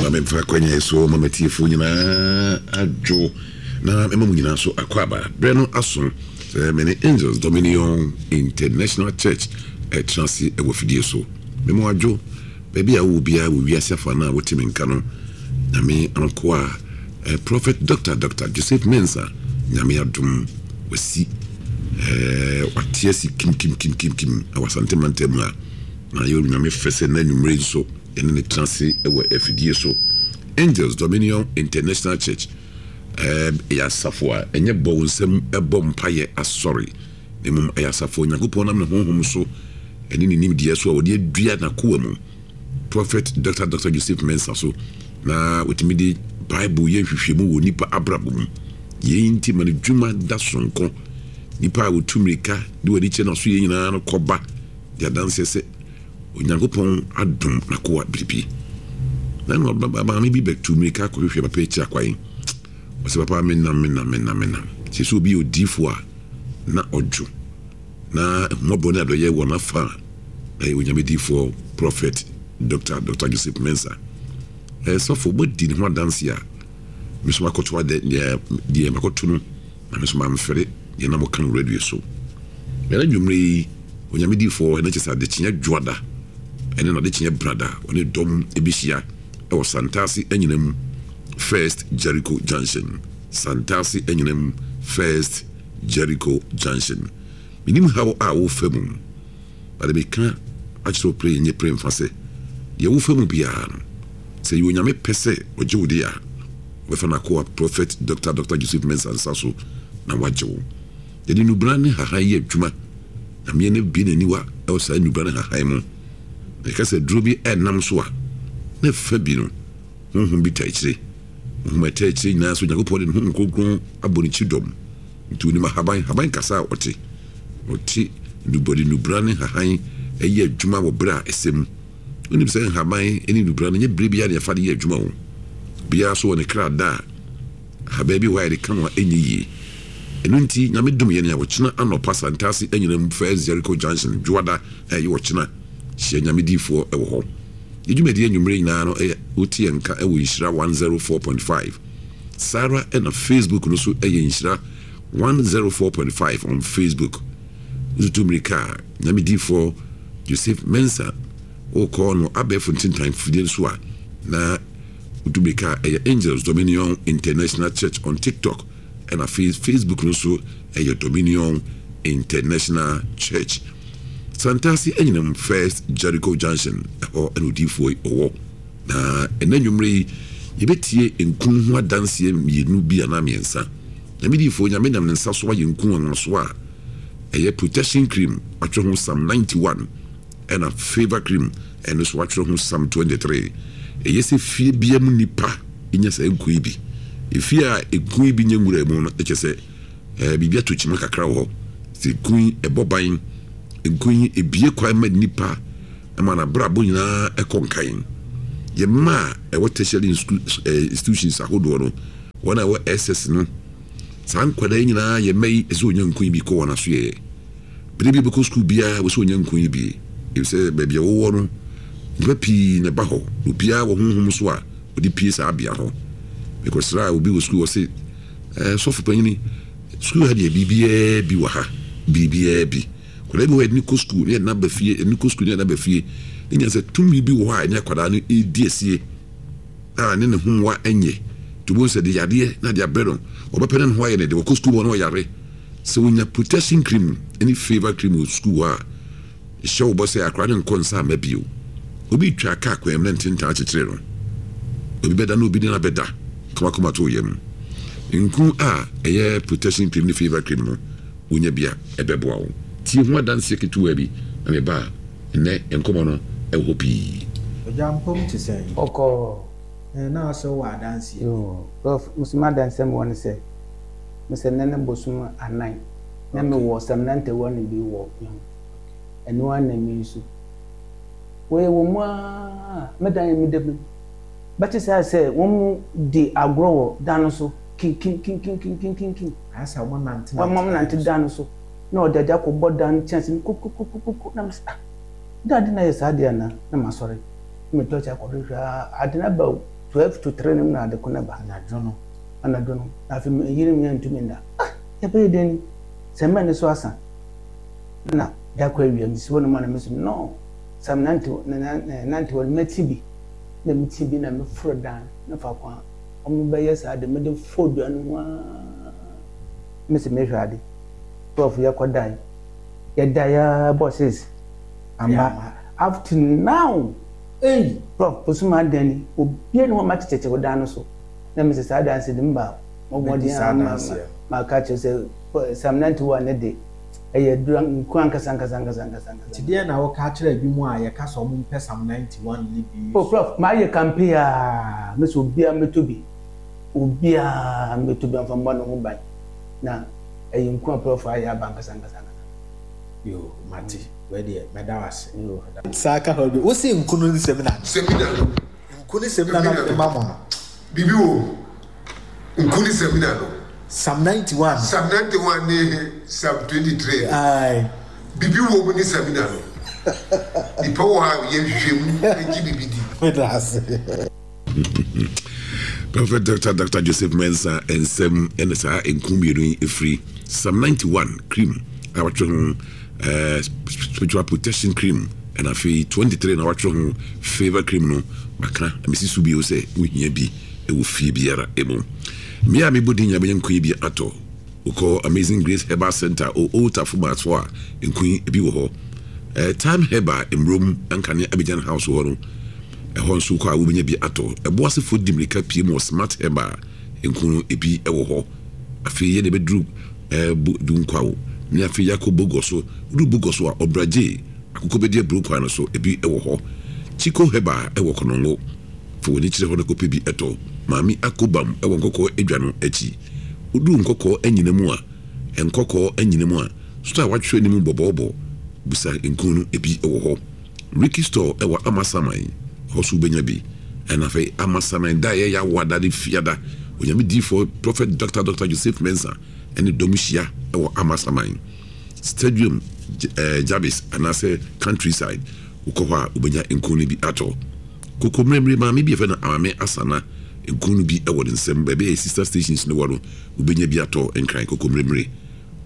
Ma memfa akwanya yi so ma m'atiefoɔ nyinaa adwo na mema mo nyinaa so akwaaba. Berɛ no aso sɛ me ne Angels Dominion International Church ɛtena ase wɔ afidie so. Mema wo adwo baabi a wowɔ biara wɔ wiase afa no a wote me nka no. Nyame nkoa eh, Prophet Dr. Dr. Joseph Mensah, Nyame adom wasi eh, wate asi kim kim kim kim kim wɔ Asante mantam mu a Na ɛyɛ Onyame fɛ sɛ nnɛ anwummere yi nso yɛne no tena ase wɔ afidie so. Angels Dominion International Church yɛ asafo a ɛnyɛ bɔ wo nsam bɔ mpaeɛ asɔre, na mmom ɛyɛ asafo a Onyankopɔn nam ne honhom so ne ne nimdeɛ so a ɔde adua n'akoa mu, Prophet Dr. Dr. Joseph Mensah so, na ɔtumi de Bible yɛ nhwehwɛmu wɔ nnipa abrabɔ mu. Yei nti ma ne dwuma da sononko. Nnipa a wɔtu mmirika de wɔn ani kyerɛ n'asoyɛ nyinaa no kɔba di adanseɛ sɛ Onyankopɔn adom n'akoa biribi. Na na maame bi bɛtu mmirika kɔhwehwɛ papa akyiri akwan. Ɔsɛ papa menam menam menam menam. Sɛ sɛ obi yɛ odiifoɔ a na ɔdwo na ahummɔborɔ ne adɔyɛ wɔ n'afa a na yɛ Onyame diifoɔ Prɔfɛt Dr. Dr. Joseph Mensah. Ɛyɛ sɔfo moadi ne ho adanseɛ a me nso makɔto adɛ deɛ makɔto no na me nso mamfɛre deɛ na moka no radio so. Ɛna anwummerɛ yi, Onyame difoɔ, ɛno kyerɛ sɛ adekyeɛ dwoada ɛne n'adekyeɛ brada, ɔne dɔm ɛbɛhyia ɛwɔ Santase Anyinam First Jericho Junction. Santase Anyinam First Jericho Junction. Menim haw a wofa mu, but meka akyerɛ wo pere nye pere mfa sɛ, deɛ wofa mu biara no, sɛ ɛyɛ Onyame pɛ sɛ ɔgye wo deɛ a, ɔbɛfa n'akoa Prophet Doctor Doctor Joseph Mensah nsa so na wagye wo. Yɛde nnubran ne nhahan yɛ adwuma. Nyame no abue n'aniwa wɔ saa nnubran ne nhahan mu. Na yɛka sɛ aduro bi ɛnam so a, na ɛfa bi no, honhom bi taa akyire. Honhom a ɛtaa akyire nyinaa nso, Onyankopɔn de ne Honhom Kronkron abɔ ne kyidɔm. Nti onim ahaban, haban kasa a ɔte. Ɔte nnubɔde, nnubran ne nhahan yɛ adwuma wɔ berɛ a ɛsɛ mu. Wonim sɛ nhaban ne nnubran no, nyɛ berɛ biara na yɛfa de yɛ adwuma o. Obiara nso wɔ ne kra da a Ahaban bi wɔ hɔ a yɛde ka ho a ɛnyɛ yie. Ɛno nti Nyame dom yɛn a ɔkyena anɔpa Santase anyinam First Jericho Junction Dwoada a ɛyɛ ɔkyena hyia Nyame diifoɔ wɔ hɔ. Yɛ dwumadie anwummerɛ nyinaa no ɛyɛ wote yɛn nka wɔ Nhyira 104.5 saa ara na Facebook no so ɛyɛ Nhyira 104.5 on Facebook. Wotutu mmirika a Nyame diifoɔ Joseph Mensah wokɔ no abɛɛfo ntentan fidie no so a na Wotu mmirika a ɛyɛ Angels Dominion International Church on TikTok ɛna afei Facebook no nso ɛyɛ Dominion International Church. Santase Anyinam First Jericho Junction ɛhɔ ɛna odiyifoɔ yi ɔwɔ. Na ɛnɛ anwummerɛ yi yɛbɛtie nku ho adanseɛ mmienu bi anaa mmiɛnsa. Nyame diyifoɔ Nyame nam ne nsa so ayɛ nku nwanwasoɔ a ɛyɛ protection cream atwerɛ ho Psalm 91. Ɛna favour cream ɛno nso watwerɛ ho Psalm 23. Ɛyɛ sɛ fie bia mu nipa nya saa nku yi bi. Efie a nku yi bi nya nwura mu no kyerɛ sɛ ɛɛ biribi ato kyima kakra wɔ hɔ. Sɛ nku yi ɛbɔ ban, nku yi ebie kwan ma nipa ma n'abrabɔ nyinaa ɛkɔ nkan. Yɛ mma a ɛwɔ tertiary institutions ahodoɔ no, wɔn a ɛwɔ SS no, saa nkwadaa yi nyinaa yɛ mma yi ɛsɛ wɔnya nku yi bi kɔ wɔn asoɛeɛ. Bere bi a ɔbɛkɔ sukuu biara, ɛwɔ sɛ ɔnya nku yi bi, efisɛ baabi a wɔwɔ no, nnipa pii na ɛba hɔ, na obiara wɔ honhom so a ɔde pue saa bea hɔ. Mekɔsraa obi wɔ sukuu, ɔse, eh, sɔfo panyini, sukuu ha deɛ biribiara bi wɔ ha, biribiara bi. Akwadaa bi wɔ hɔ a yɛde no kɔ sukuu na yɛde no aba fie, yɛde no kɔ sukuu na yɛde no aba fie. Ne nyinaa sɛ tumi bi wɔ hɔ a ɛne akwadaa no redi asie. a ne ne ho mmoa nyɛ nti wobɛhu sɛ de yadeɛ na de abrɛ no ɔbɛpɛ na ne ho ayɛ ne de wɔkɔ sukuu hɔ na ɔyare sɛ wonya protection cream ne favor cream wɔ sukuu hɔ a ɛhyɛ wo bɔ sɛ akora ne nkɔ nsa ama bio obi twa kaa kwan mu na ntentan akyekyere no obi bɛda na obi ne no abɛda kamakama to yam nku a ɛyɛ protection cream ne favor cream no wonya bi a ɛbɛboa wo tie ho adanseɛ ketewa bi na meba a Nnɛ nkɔmmɔ no wɔ hɔ pii. Ogya mpom te sɛn? Ɔkɔɔ. Ɛɛ na ɔsɛ wowɔ adanseɛ bi. Yoo prof me so m'adansɛm wɔ ne sɛ me sɛ nnɛ ne bosom anan na me wɔ samina ntawa no bi wɔ me ho ɛno ara na me nsu wei wɔ mu aa me dan yɛ me da mu bɛte saa sɛ wɔn mu di agorɔ wɔ dan no so kinkinkinkinkinkinkinkin Ayɛ sɛ wɔn nante wɔn nante dan no so. Na ɔde ade akɔbɔ dan no kyɛnse mu kukukukuku na mese ah dɛ ade na ayɛ saa deɛ anaa na masɔre. Na me tɔɔkye akɔhwehwɛ aa, ade no aba o, 12 to 3 no mu na ade ko no ba. Anadwo no. Anadwo no. Na afei me yere me antumi nna. Ah! Yɛbɛyɛ dɛn ni? Sɛ mmɛ no so asa. Na da kɔ awia, mesi hɔ nom a na me so no, sɛ menante nante hɔ no mɛte bi. Na mete bi na meforo dan no faako a wɔbɛyɛ saa de, mede fɔɔ dua no ho aa. Mese mehwɛ ade. 12 yɛkɔ dae. Yɛdae aa bɔ 6 amba. Up to now. Ei! Prof, bosom adan ni, obia ni hɔ a makyekyɛkyɛ wo dan no so. Na mese saa adanse de mba mɔ mmɔden a ma maka akyerɛ sɛ Psalm 91 ne de ɛyɛ aduru nku ankasa ankasa ankasa ankasa ankasa. Nti deɛn na woka akyerɛ ebinom a yɛka sɛ wɔn mpɛ Psalm 91 no bi Oh Prof, mayɛ campaign aa, mese obiara mmɛtɔ bi, obiara mmɛtɔ bi mfa mmɔ ne ho ban, na ɛyɛ nku a Prof ayɛ aba ankasa ankasa ankasa. Yoo, mate. Wei deɛ mɛda wo ase. Yoo. Saa ka hɔ bio. Wose nku no ne samina no. Samina no. Nku ne samina na mede ma mo no. Biribi wɔ mu. Nku ne samina no. Psalm 91. Psalm 91 ne Psalm 23 no. Aye. Biribi wɔ mu ne samina no. Nipa wɔ ha a yɛ nhwehwɛmu gye biribi di. Meda ase. Prophet Dr. Dr. Joseph Mensah nsɛm ɛna saa nku mmienu yi ɛfiri Psalm 91 cream a wɔatwerɛ ho eh, spiritual protection cream ɛna afei 23 na wɔatwerɛ ho favor cream no maka mesi so bio sɛ wohia bi ɛwɔ fie biara ɛmu mmea a mebɔ din nyinaa bɛnya nku yi bi atɔ Wokɔ Amazing Grace Herbal Centre o Old Tafo Mart hɔ a, nku yi bi wɔ hɔ. Eh, Time Herbal, Mmrom, Ankane Abidjan House hɔ no, ɛhɔ nso wokɔ a wobɛnya bi atɔ. Ɛboasefoɔ di mmirika pie mu wɔ Smart Herbal, nku no ebi wɔ hɔ. Afei yɛde bɛduru eh, Bu, Dunkwaw, ne afei yɛakɔ Bogor so. Woduru Bogor so a, Ɔbragye, Akokɔbɛdi aburo kwan no so, ebi wɔ hɔ. Chico Herbal wɔ Konongo. Fa w'ani kyerɛ hɔ na kɔpɛ bi tɔ. Maame Akobam wɔ Nkɔkɔɔ Adwa no akyi. Woduu Nkɔkɔɔ Anyina mu a, Nkɔkɔɔ Anyina mu a, store a wɔatwerɛ anim bɔbɔɔbɔ, bisa nku no, ebi wɔ hɔ. Ricky Store wɔ Amasaman, ɛhɔ nso wobɛnya bi. Ɛna afei Amasaman da a ɛyɛ Yawoada ne Fiada, Onyame diyifoɔ Prophet Doctor Doctor Joseph Mensah ne dɔm hyia wɔ Amasaman Stadium, Jabis anaasɛ Countryside, wokɔ hɔ a wobɛnya nku no bi atɔ. Koko mmerɛmmerɛ maame bi a yɛfrɛ no Amame Asana nku no bi wɔ ne nsam. Baabi a sister stations no wɔ no, wobɛnya bi atɔ Nkran Koko mmerɛmmerɛ.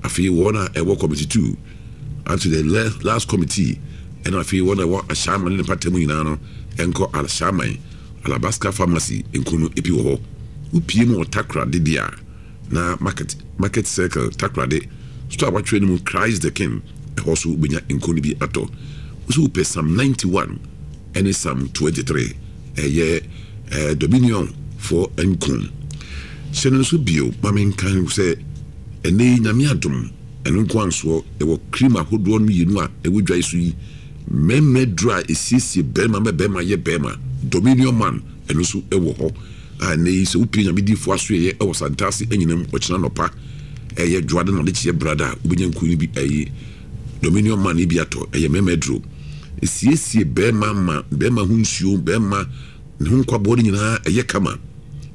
Afei wɔn a ɛwɔ committee 2 up to the last committee ɛna afei wɔn a ɛwɔ Ashaiman ne ne mpata mu nyinaa no nkɔ Ashaiman Alabaska Pharmacy nku no bi wɔ hɔ. Wopie mu wɔ Takoradi deɛ a, na market market circle Takoradi store a wɔatwerɛ no mu Christ the King ɛhɔ so wobɛnya nku no bi atɔ. Wo sɛ wopɛ Psalm 91 ɛne Psalm 23 ɛyɛ eh, Dominion foɔ nku. Hyɛ no nso bio ma menka sɛ ɛnɛ yi Nyame adom ɛno nko ansoɔ yɛwɔ cream ahodoɔ no mmienu a ɛwɔ dwa yi so yi mmarima aduro a ɛsiesie barima ma barima yɛ barima Dominion man ɛno nso ɛwɔ hɔ a ɛnnɛ yi sɛ wopue Nyame difoɔ asoɛeɛ wɔ Santase anyinam ɔkyena anɔpa ɛyɛ dwoada na adekyeɛ brada a wobɛnya nkuo no bi ɛyi Dominion man yi bi atɔ ɛyɛ mmarima aduro ɛsiesie bɛrima ma bɛrima ho nsuo bɛrima ne ho nkwaboɔ no nyinaa ɛyɛ kama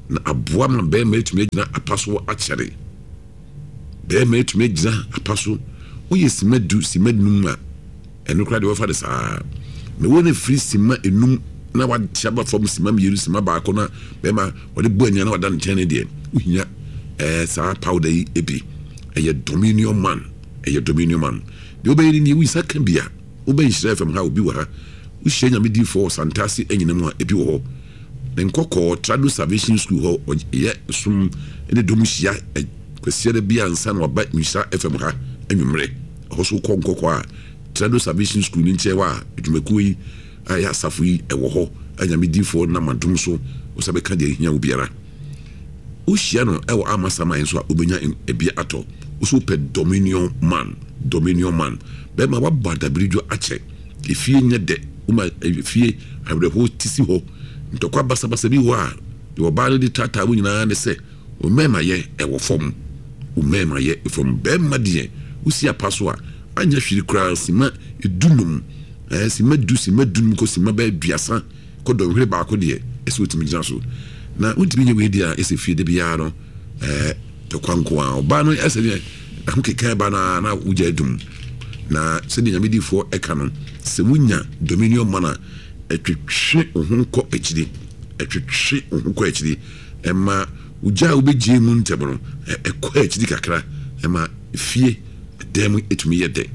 na aboa ma bɛrima atumi agyina apa so akyɛre. Barima atumi agyina apa so. Woyɛ simma du, simma num a, ɛno koraa deɛ wɔfa no saa. Na wɔn afiri simma enum na wate aba fam simma mmienu, simma baako na barima wɔde bɔ ania na wada ne nkyɛn no deɛ, wohia ɛɛ saa powder yi bi. Ɛyɛ Dominion Man. Ɛyɛ Dominion Man. Deɛ wobɛyɛ no nie, wo nsa ka bi a, wobɛ Nhyira FM ha, obi wɔ ha. Wohyia Nyame diifoɔ wɔ Santase anyina mu a, ebi wɔ hɔ. Ne nkɔkɔɔ Trado Salvation School hɔ ɔyɛ som ne dɔm hyia Kwasiada bi ansa na waba Nhyira FM ha anwummerɛ. Ɛhɔ so wokɔ nkɔkɔɔ a Trado Salvation School no nkyɛn hɔ a adwumakuo yi a ɛyɛ asafo yi ɛwɔ hɔ a Nyame difoɔ nam adom so wosa bɛka deɛ ɛhia wo biara. Wohyia no ɛwɔ Amasaman nso a wobɛnya ebi atɔ. Wo so wopɛ Dominion Man, Dominion Man. Bɛrima wabɔ adabiridwo akyɛ. Efie nyɛ dɛ, woma efie awerɛhow te si hɔ. Ntɔkwa basabasa bi wɔ hɔ a, deɛ ɔbaa no de taataa wo nyinaa ne sɛ, wo mmarimayɛ wɔ fam. Wo mmarimayɛ fam. Barima deɛ, wosi apa so a, anyɛ hwee koraa, simma dunum, ɛɛ, simma du, simma dunum kɔ simma bɛyɛ aduasa kɔ dɔnhwere baako deɛ, ɛsɛ wotumi gyina so. Na wontumi nyɛ wei deɛ a, ɛsɛ fie da biara no, ɛɛ, tɔkwa nko ara. Ɔbaa no ɛsɛ deɛ ahokeka ba no ara na wogya adum. Na sɛdeɛ Nyame difoɔ ɛka no, sɛ wonya dominion man a, Ɛtwetwe wo ho kɔ akyiri. Ɛtwetwe wo ho kɔ akyiri. Ɛma wo gya a wobɛgyae mu ntɛm no, ɛkɔ akyiri kakra. Ɛma fie dan mu tumi yɛ dɛ.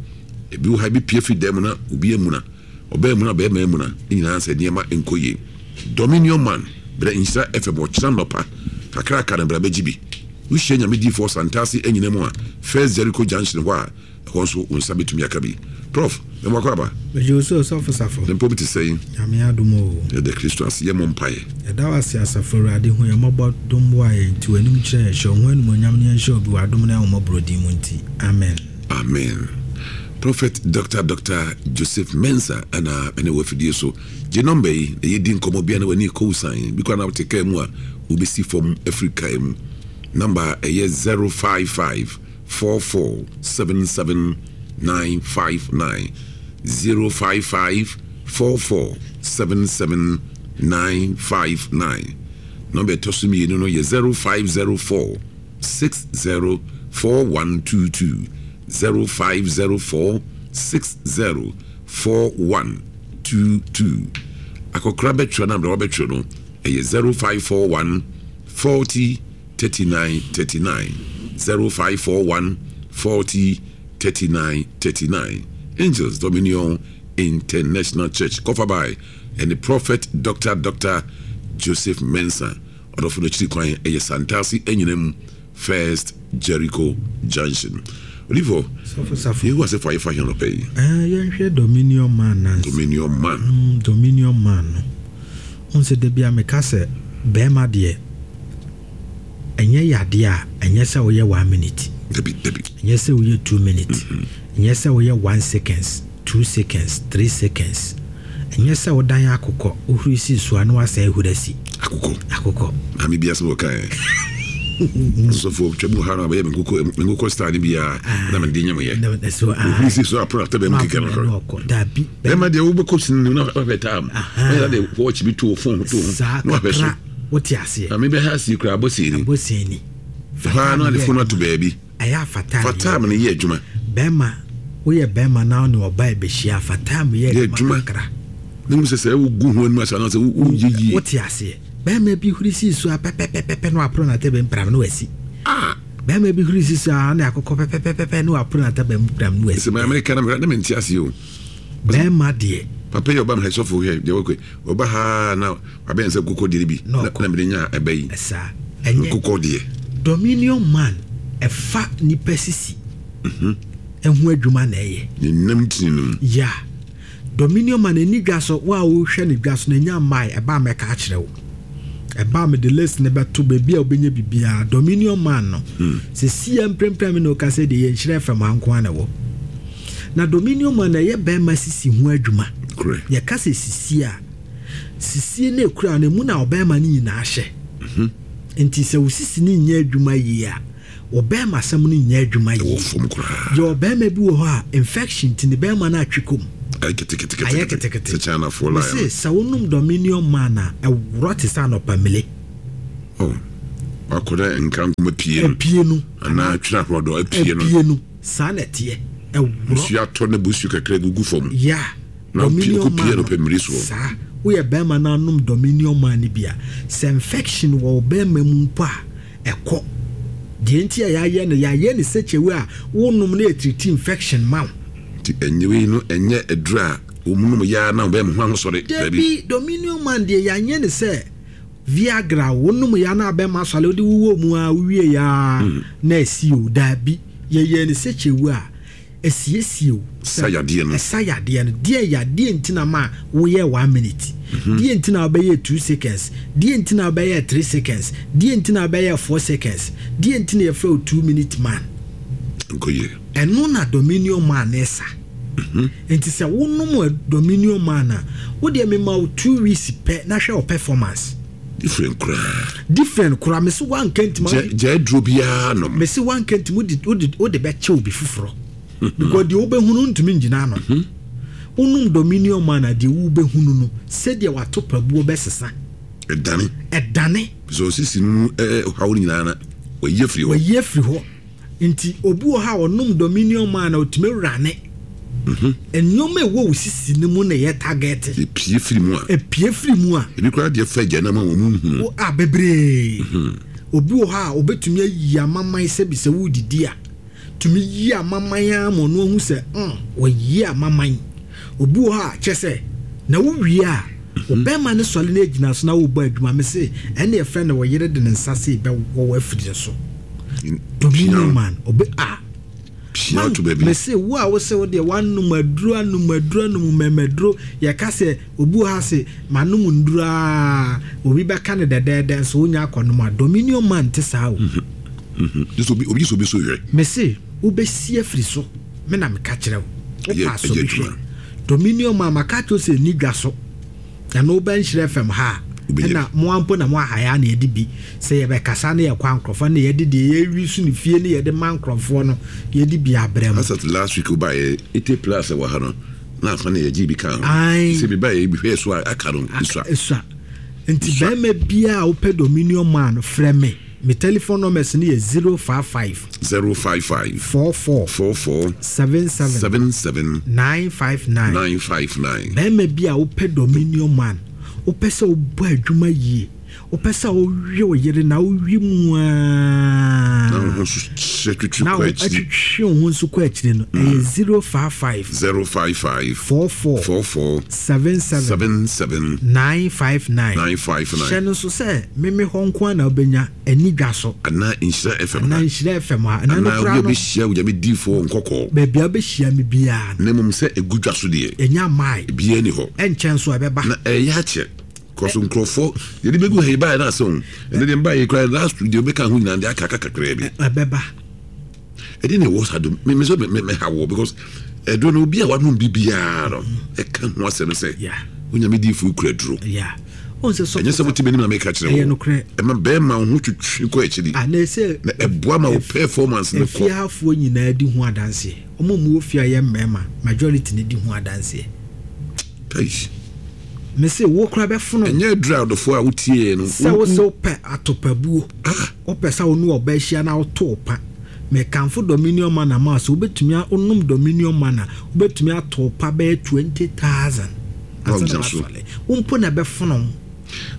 Ebi wɔ ha, ebi pue firi dan mu na obi amuna. Ɔbaa amuna, ɔbarima amuna. Ne nyinaa sɛ nneɛma nkɔ yie. Dominion Man, brɛ Nhyira FM ɔkyena nnɔpa kakraka no bra bɛgye bi. Wohyia Nyame diifoɔ Santase anyina mu a, First Jericho Junction hɔ a, Ɛhɔ nso wo nsa bɛtumi aka bi. Prof, mema wo akwaaba. Megye wo so Osɔfo Safo. Ne mpom te sɛn? Nyame adom oo. Yɛda Kristo ase, yɛmmɔ mpaeɛ. Yɛda wo ase Asafo Awurade, hu yɛn mmɔbɔ, dom boa yɛn, te w'anim kyerɛ yɛn, hyɛ wo ho animuonyam na yɛnhyɛ obi w'adom ne ahummɔborɔ din mu nti, Amen. Amen. Prophet Doctor Doctor Joseph Mensah na me ne wɔ afidie so. Gye nɔmba yi na yɛdi nkɔmmɔ bia na w'ani rekɔ wo san bi koraa na wote kaa mu a wobɛsi fam afiri kaa mu. Nɔmba a ɛyɛ 055 4477 959 055 4477 959. Nɔmba ɛtɔ so mmienu no yɛ 0504 60 4122 0504 60 4122. Akɔkora bɛtwerɛ no aberɛ wabɛtwerɛ no ɛyɛ 0541 40 39 39 0541 40 39 39 Angels Dominion International Church kɔfa by ɛne Prophet Doctor Doctor Joseph Mensah ɔdɔfo no akyiri kwan ɛyɛ Santase Anyinam First Jericho Junction Odifo Yehowa sɛ fa yɛfa hɛn ɔpɛ yi. Eh, yɛnhwɛ Dominion Man nansa. Dominion Man. Dominion Man no. Wohu sɛ da biara meka sɛ barima deɛ ɛnyɛ yadeɛ a ɛnyɛ sɛ woyɛ one minute. Dabi dabi. Ɛnyɛ sɛ woyɛ 2 minutes. Ɛnyɛ sɛ woyɛ 1 seconds, 2 seconds, 3 seconds. Ɛnyɛ sɛ wodan akokɔ wohuri si so a na wasan ahuri asi. Akokɔ. Akokɔ. Maame bi asɛm wɔka ɛ. Sɔfo twɛ mu ha na bɛyɛ me nkokɔ me nkokɔ star ne biara na mede nyɛ mo yɛ. So Ohuri si so apono atɛ bɛn mu kekɛ no. Ɔkɔ dabi. Bɛrima deɛ wobɛkɔ sini no na wahwɛ time. Ɛyɛ de watch bi to wo phone to ho Saa na wahwɛ so. kakra wote aseɛ. Maame bɛha asi koraa abɔ sini. Abɔ sini. Hɔ ara na ɔde phone ato baabi. Ɛyɛ a fa time Fa time no yɛ adwuma. Bɛrima woyɛ bɛrima na wo ne ɔbaa bɛhyia fa time yɛ Yɛ adwuma adwuma. kakra. Ne hu sɛ sɛ wogu ho anim ase anaasɛ woyɛ yie. Wote aseɛ. Bɛrima bi huri si so a pɛpɛpɛpɛ na wapono n'atɛbɛm pram na wasi. Ah! Bɛrima bi huri si so a na akokɔ pɛpɛpɛpɛ na wapono n'atɛbɛm pram na wasi. Sɛ maame ka na mehwɛ na mente aseɛ o. Bɛrima deɛ. Papa yi ɔba me ha sɔfo hwɛ deɛ wɔkɔ ɔba ha na wabɛn sɛ nkokɔ deɛ bi na na mede nya ɛbɛ yi. Saa ɛnyɛ nkokɔ deɛ. Dominion man ɛfa nipa sisi. Ɛho adwuma na ɛyɛ. Ne nam tini no mu. Ya. Dominion man ani dwa so wo a wohwɛ ne dwa so na nya mmae ɛba a mɛka akyerɛ wo. Ɛba a mede list ne bɛto baabi a wobɛnya biribiara. Dominion man no. Sɛ sia mprempren me ne wo kasa deɛ yɛ Nhyira FM ha nko ara na ɛwɔ. Na Dominion man na ɛyɛ bɛrima sisi ho adwuma. Yɛka sɛ sisi a, sisie no ekura no emu na ɔbɛrima no nyinaa hyɛ. Nti sɛ wo sisi no nyɛ adwuma yie a, ɔbɛrima asɛm no nyɛ adwuma yie. Ɛwɔ fam koraa. Yɛ ɔbɛrima bi wɔ hɔ a infection nti ne bɛrima no atwe kɔ mu. Ayɛ ketekete. Ayɛ ketekete. Sɛ Chinafoɔ line. Mese sɛ wonom Dominion man a ɛworɔ te sɛ anɔpa mmele. Oh, wakɔ dɛ nka nkoma pie no. Apue no. Anaa twere ahorɔdɔ apue no. Apue no. Saa na ɛteɛ. Ɛworɔ. Nsuo atɔ na bosuo kakra gugu fam. Yeah. Na wopie Dominion kɔ pie man no pɛ mmiri soɔ. Saa. Woyɛ bɛrima na anom Dominion man no bi a, sɛ infection wɔ wo bɛrima mu mpo a, ɛkɔ. Deɛ nti a yɛayɛ no, yɛayɛ no such a way a wonom no ɛtiriti infection ma wo. Nti ɛnyɛ wei no ɛnyɛ aduru a wɔnom yɛ ara na wo bɛrima ho ahosɔre. Dabi. Dabi, Dominion man deɛ yɛanyɛ no sɛ Viagra wonom yɛ a na abɛrima asɔre wode wowɔ mu a wowie yɛ a na asi o. Dabi, yɛyɛɛ no such a way a ɛsiesie o. Sa yadeɛ no. Ɛsa yadeɛ no. Deɛ yadeɛ nti na ma woyɛ 1 minute. Deɛ nti na wobɛyɛ 2 seconds. Deɛ nti na wobɛyɛ 3 seconds. Deɛ nti na wobɛyɛ 4 seconds. Deɛ nti na yɛfrɛ wo 2 minute man. Nkɔ yie. Ɛno na Dominion man ne sa. Nti sɛ wonom a Dominion man a, wodeɛ mema wo 2 weeks pɛ na hwɛ wo performance. Different koraa. Different koraa. Mese wanka ntimi. Gya gya aduro biara nom. Mese wanka ntimi wode wode wode bɛkyɛ obi foforɔ. Because deɛ wobɛhunu ntumi ngyina ano. Wonom Dominion man a deɛ wobɛhunu no sɛdeɛ wato pabuo bɛsesa. Ɛdane. Ɛdane. Sɛ ɔsisi no mu ɛɛ ɔhaw no nyinaa na wayi afiri hɔ. Wayi afiri hɔ. Nti obi wɔ hɔ a ɔnom Dominion man a ɔtumi wurane. Nneɛma a ɛwɔ wo sisi no mu na ɛyɛ target. Epie firi mu a. Epie firi mu a. Ebi koraa deɛ fa agya no ama wɔn nhunu. Wo a bebree. Obi wɔ hɔ a obetumi ayi amaman sɛbi sɛ wodidi a, tumi yi amaman ara ma ɔno ahu sɛ mm wayi amaman. Obi wɔ hɔ a kyɛ sɛ na wowie a, wo bɛrima no sɔre na egyina so na wobɔ adwuma mese ɛnna yɛfrɛ no wo yere de ne nsa sei bɛwɔ wo afiri ne so. Dominion man obe a. Pia to baabi. Mese wo a wose wo deɛ woanom aduro anom aduro anom mmɛmɛduro yɛka sɛ obi wɔ ha se manom nnuro aa obi bɛka no dɛdɛɛdɛ nso wonya akɔnom a Dominion man nte saa o. Gye sɛ obi obi gye sɛ obi so hwɛ. Mese wobɛsi afiri so me na meka kyerɛ wo Ɛyɛ wopɛ asɔ ɛyɛ bi adwuma. hwɛ Dominion man maka akyerɛ wo sɛ ɛnni dwa so. Ɛno woba Nhyira FM ha a, Wobɛnya ɛna bi. mo ara mpo na mo aha yɛ a na yɛde bi. Sɛ yɛbɛkasa na yɛkɔ a nkorɔfoɔ na yɛde deɛ yɛwi so no fie ne yɛde ma nkorɔfoɔ no yɛde bi abrɛ mo. As at last week wobaeɛ 80 plus wɔ ha no na afa na yɛgyee bi kaa ho. Ae. Sɛ mebaeɛ yi mehwɛɛ so a aka no esua. Esua. Nti Esua. barima biara a wopɛ Dominion man no frɛ me. Me telephone numbers no yɛ 055. 055. 44. 44. 77. 77. 959. 959. Barima bi a wopɛ Dominion man, wopɛ sɛ wobɔ adwuma yie, wopɛ sɛ wowe wo yere na wowe mu ara. Na wo ho nso hyɛ twitwi Na kɔ wo akyiri. atwitwi wo ho nso kɔ akyiri no, ɛyɛ 055. 055. 44. 44. 77. 77. 959. 959. Hyɛ no nso sɛ meme hɔ nko ara na wobɛnya, ɛnni dwa so. Anaa Nhyira FM ha. Anaa Nhyira FM ha. Ɛna no Anaa koraa obi a no. ɔbɛhyia Onyame diifoɔ wɔ Nkɔkɔɔ. Baabi a wobɛhyia me biara no. Na mmom sɛ ɛgu dwa so deɛ. Ɛnya mmae. Ebiara nni hɔ. Ɛnkyɛ nso ɛbɛba. Na ɛreyɛ akyɛ. Kɔ so nkurɔfoɔ yɛde bɛgu ha yi baeɛ no asɛ o. Ɛnɛ deɛ mbaeɛ yi koraa last week deɛ wobɛka ho nyinaa deɛ aka aka kakraa bi. Ɛbɛba. Ɛdeɛ na ɛwɔ saa dom me me sɛ me me ha wɔ because ɛduro no obi a wanom bi biara no ɛka ho asɛm sɛ onyame diifoɔ kura duro. Ɛnyɛ sɛ wote m'anim na meka kyerɛ wo. Ɛma bɛrima wo ho twitwi kɔ akyiri. Na ɛboa ma wo performance no kɔ. Efiehafoɔ nyinaa di ho adanseɛ. Wɔn a wɔwɔ fie a yɛ mmarima majority no di ho adanseɛ. Eish. Mese wo koraa bɛfono. Ɛnyɛ aduru a ɔdɔfoɔ a wotieɛ no. Sɛ wo sɛ wopɛ atopabuo. Ah. Wopɛ sɛ wo ne ɔbaa hyia na woto wo pa. Mekamfo Dominion Manor ma wo sɛ wobɛtumi a wonom Dominion Manor wobɛtumi ato wo pa bɛyɛ 20,000 Na ansa na wogyina so. woasɔre. Wo mpo na ɛbɛfono wo.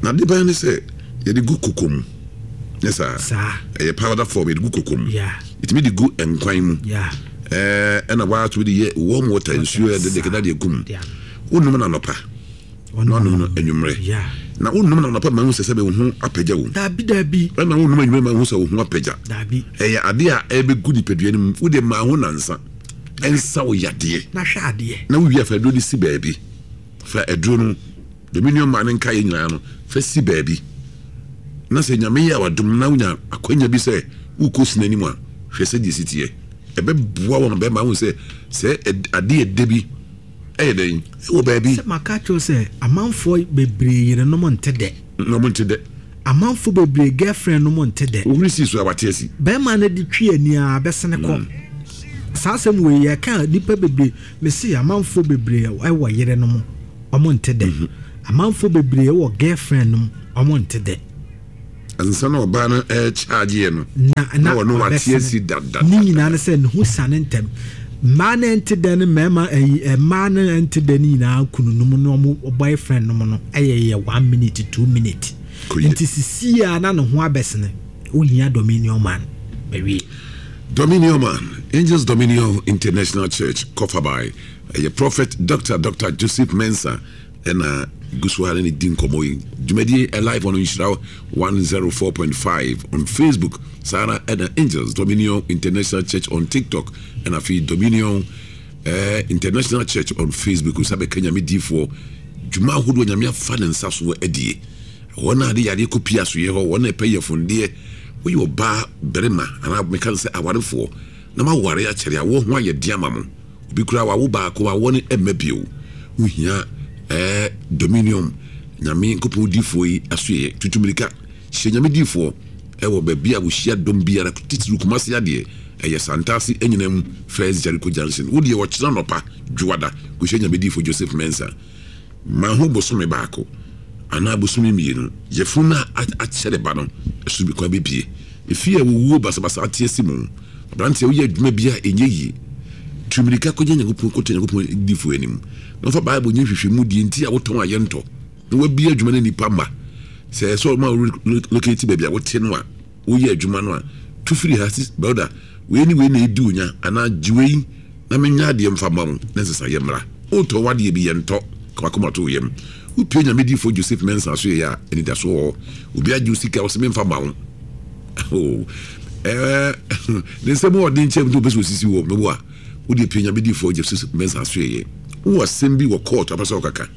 Na ade bɛn ne sɛ yɛde gu koko mu. Nyɛ saa? Saa. Ɛyɛ powder form, yɛde gu koko mu. Yeah. Yɛtumi de gu nkwan mu. Yeah. Ɛɛ ɛna waa tumi de yɛ warm water, nsuo yɛde de kɛda de gu mu. Yeah. Wonom no anɔpa, na woanom no anwummerɛ. Yeah. Na wonom no anɔpa ma hu sɛ sɛbɛ wo ho apagya wo. Daabi daabi. Ɛna wonom anwummerɛ ma hu sɛ wo ho apagya. Daabi. Ɛyɛ adeɛ a ɛbɛgu nipadua no mu. Wode maa ho nansa. Ɛnsa wo yadeɛ. Na hwɛ adeɛ. Na wowie a fa aduro no si baabi. Fa aduro no, Dominion maa ne nkaeɛ nyinaa no, fa si baabi. Na sɛ Nyame yɛ wadom na wonya akwanya bi sɛ wokɔ si n'anim a, hwɛ sɛdeɛ ɛsi teɛ. Ɛbɛboa wo ama bɛrima ahu sɛ sɛ adeɛ ɛdɛ bi ɛyɛ dɛn ɛwɔ baabi. Sɛ maka akyerɛ wo sɛ amanfoɔ bebree yerenom nte dɛ. Na wɔn nte dɛ. Amanfoɔ bebree girlfriend nom nte dɛ. Wohuri sii so a wate asi. Bɛrima no de twi ani ara bɛsene kɔ. Saa asɛm wei yɛka a nnipa bebree mese amanfoɔ bebree ɛwɔ yerenom wɔn nte dɛ. Amanfoɔ bebree ɛwɔ girlfriend nom wɔn nte dɛ. Ansa na ɔbaa no ɛrekyaagyeɛ no, na na ɔno wate asi dada. Ne nyinaa ne sɛ ne ho siane ntɛm. Mmaa no ɛnte dɛ ne mmarima ɛyi mmaa no ɛnte dɛ ne nyinaa kununom ne wɔn boyfriend nom no ɛyɛ yɛ one minute two minute. Nti sisi a na ne ho abɛsene wohia Dominion man mawie. Dominion man, Angels Dominion International Church, Kɔfabae, ɛyɛ Prophet Doctor Doctor Joseph Mensah Ɛna gu so ara ne no di nkɔmmɔ yi. Dwumadie ɛ live on Nhyira 104.5 on Facebook. Saa ara ɛna Angels Dominion International Church on TikTok. Ɛna afei Dominion eh, International Church on Facebook. Nsa bɛka Nyame diifoɔ dwuma ahodoɔ Nyame afa ne nsa so adie. Wɔn a de yadeɛ kɔ pie asoyɛ hɔ, wɔn a ɛpɛ yɛfondeɛ. Woyɛ ɔbaa barima anaa meka no sɛ awarefoɔ na moaware akyɛre a, wo ho ayɛ den ama mo. Obi koraa wawo baako wawo no ɛmma bio. Wohia ɛɛ dominion Nyame Nkopɔn difoɔ yi asoɛeɛ. Tutu mirika hyia Nyame difoɔ ɛwɔ baabi a wohyia dɔm biara titiriw Kumasi adeɛ ɛyɛ Santase Anyinam First Jericho Junction. Wodeɛ ɔkyena anɔpa Dwoada kɔhyia Nyame difoɔ Joseph Mensah. Ma ho bosome baako anaa bosome mmienu, yafunu no a akyɛre ba no so bi kwan bɛpue. Efie a owuo basabasa ate asi mu. Aberanteɛ woyɛ adwuma bi a ɛnyɛ yie. Tu mmirika kɔgyina Nyankopɔn, kɔto Nyankopɔn difoɔ anim, na ɔfa Bible nyɛ nhwehwɛmu deɛ nti a wotɔn a yɛntɔ, na wabie adwuma no nnipa mma. Sɛ ɛsɛ ɔma wo relocate baabi a wote no a, woyɛ adwuma no a, tu firi ha, sis, brother, wei ne wei na ɛdi wo nya, anaa gye wei na menyɛ adeɛ mfa mma wo, na nsesaeɛ mmra. Wotɔn w'adeɛ bi, yɛntɔ, ka w'akoma to wo yam. Wopue Nyame difoɔ Joseph Mensah so yɛ a, anidasoɔ wɔ hɔ. Obi agye wo sika, ɔse memfa mma wo. Oh, eh, ne nsɛm wɔ ɔden kyɛm nti wopɛ sɛ osisi wɔ mɛbo a, wode pie Nyame difoɔ Joseph Mensah so yɛ. Wowɔ asɛm bi wɔ court apɛ sɛ ɔkaka.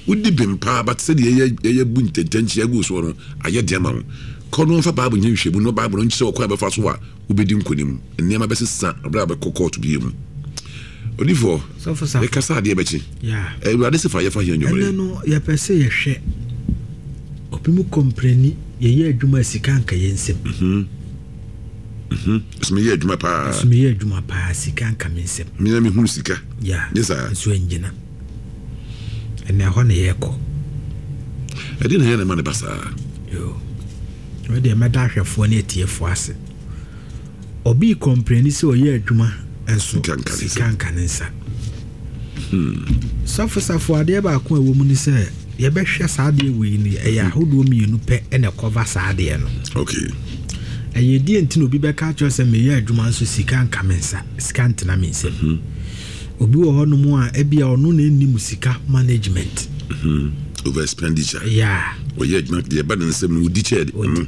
Wodi bem paa but sɛdeɛ yɛyɛ yɛyɛ bu ntɛntɛnkyea gu soɔ no ayɛ den ama wo. Kɔ na wɔmfa Bible nyɛ nhwehwɛmu na Bible no nkyerɛ ɔkwan a bɛfa so a wobɛdi nkonim. Nneɛma bɛsesa berɛ a wobɛkɔ kɔɔto bio mu. Odifoɔ, Sɔfo Safo. yɛkasa adeɛ bɛkye. Yeah. Awurade se fa yɛfa hia anwummerɛ Ɛnɛ yi. no yɛpɛ sɛ yɛhwɛ obi mu kɔmprɛni yɛyɛ adwuma a sika nka yɛn nsam. So meyɛ adwuma paa. So meyɛ adwuma paa sika nka me nsam. Me na mehunu sika. Yeah. Nyɛ saa. Nso ɛngyina. Ɛnna ɛhɔ na yɛrekɔ. Ɛdeɛn na ɛyɛ na ɛma no ba saa? Yoo. Wei deɛ mɛda ahwɛfoɔ ne atiefoɔ ase. Obi rekɔmpleni sɛ ɔyɛ adwuma nso sika nka ne nsa. Sɔfo Safo adeɛ baako a ɛwɔ mu ne sɛ yɛbɛhwɛ saa adeɛ wei no ɛyɛ hmm. ahodoɔ mmienu pɛ na ɛkɔva saa adeɛ no. Okay. Ɛyɛ deɛ nti na obi bɛka akyerɛ sɛ meyɛ adwuma nso sika nka me nsa sika ntena me nsam. Hmm. Obi wɔ hɔnom a ebia ɔno na ɛnnim sika management. Hmm. Over expenditure. Yeah. Ɔyɛ adwuma deɛ ɛba ne nsam no ɔdi kyɛ. Ɔdi.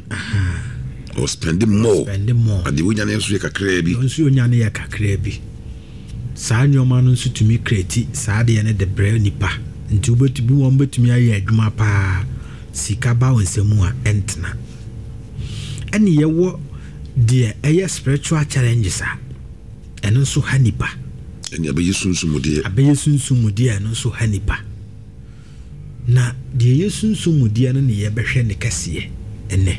Ɔ spend more. Spend more. Adeɛ wonya no nso yɛ kakraa bi. Nso onya no yɛ kakraa bi. Saa nneɛma no nso tumi kreti saa adeɛ no de brɛ nipa. Nti wobɛtumi wɔn bɛtumi ayɛ adwuma paa sika ba wɔn nsam a ɛntena. Ɛne yɛwɔ deɛ ɛyɛ spiritual challenges a ɛno nso ha nipa. Ɛne abɛyɛ sunsum mu deɛ. Abɛyɛ sunsum mu deɛ ɛno nso ha nipa. Na deɛ ɛyɛ sunsum mu deɛ no ne yɛbɛhwɛ ne kɛseɛ ɛnnɛ.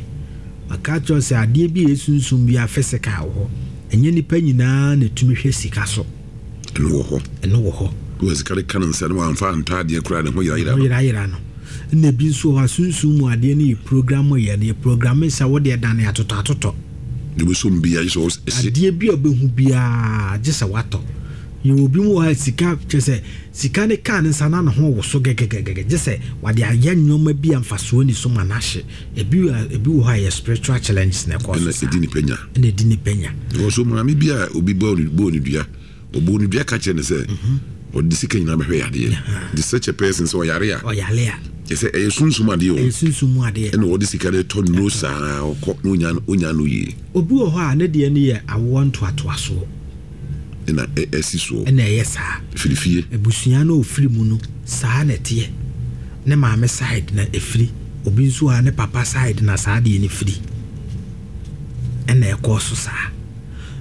Maka akyerɛ wo sɛ adeɛ bi a ɛyɛ sunsum biara physical wɔ hɔ. Ɛnyɛ nnipa nyinaa na ɛtumi hwɛ sika so. Ɛno wɔ hɔ. Ɛno wɔ hɔ. Wɔ sika de ka ne nsa no wamfa antɔ adeɛ koraa ne ho yerayera no. Ne ho yerayera no. Ɛna ebi nso wɔ hɔ a sunsum mu adeɛ no yɛ program yɛ no yɛ programme sɛ wo deɛ dane atotɔ atotɔ. Deɛ wobɛsɔ mu biara gye sɛ ɔsi. Adeɛ bi a wobɛhu biara gye sɛ watɔ. Yɛwɔ obi mu wɔ hɔ a sika kyerɛ sɛ Sika no kaa ne nsa na ne ho woso gɛgɛgɛgɛ gye sɛ wɔde ayɛ nneɛma bi a mfasoɔ nni so ma no ahye. Ebi wɔ ebi wɔ hɔ a ɛyɛ spiritual challenges na ɛkɔɔ so Ɛna saa. ɛdi nipa nya. Ɛna ɛdi nipa nya. Because maame bi a obi bɔɔ no bɔɔ no dua, ɔbɔɔ no dua ka kyerɛ no sɛ ɔde sika nyinaa bɛhwɛ yadeɛ. Nti such a person sɛ ɔyare a, Ɔyare a. kyerɛ sɛ ɛyɛ sunsum adeɛ o. Ɛyɛ sunsum mu adeɛ. Ɛna ɔde sika no tɔ nnuro saa ɔkɔ na ɔnya ɔnya no yie. Obi wɔ hɔ a ne deɛ no yɛ awoɔ ntoatoasoɔ. na ɛsi soɔ. Na ɛyɛ saa. Firi fie. Abusua no a ɔfiri mu no, saa na ɛteɛ. Ne maame side na ɛfiri. Obi nso a ne papa side na saa adeɛ no firi. Ɛna ɛkɔɔ so saa.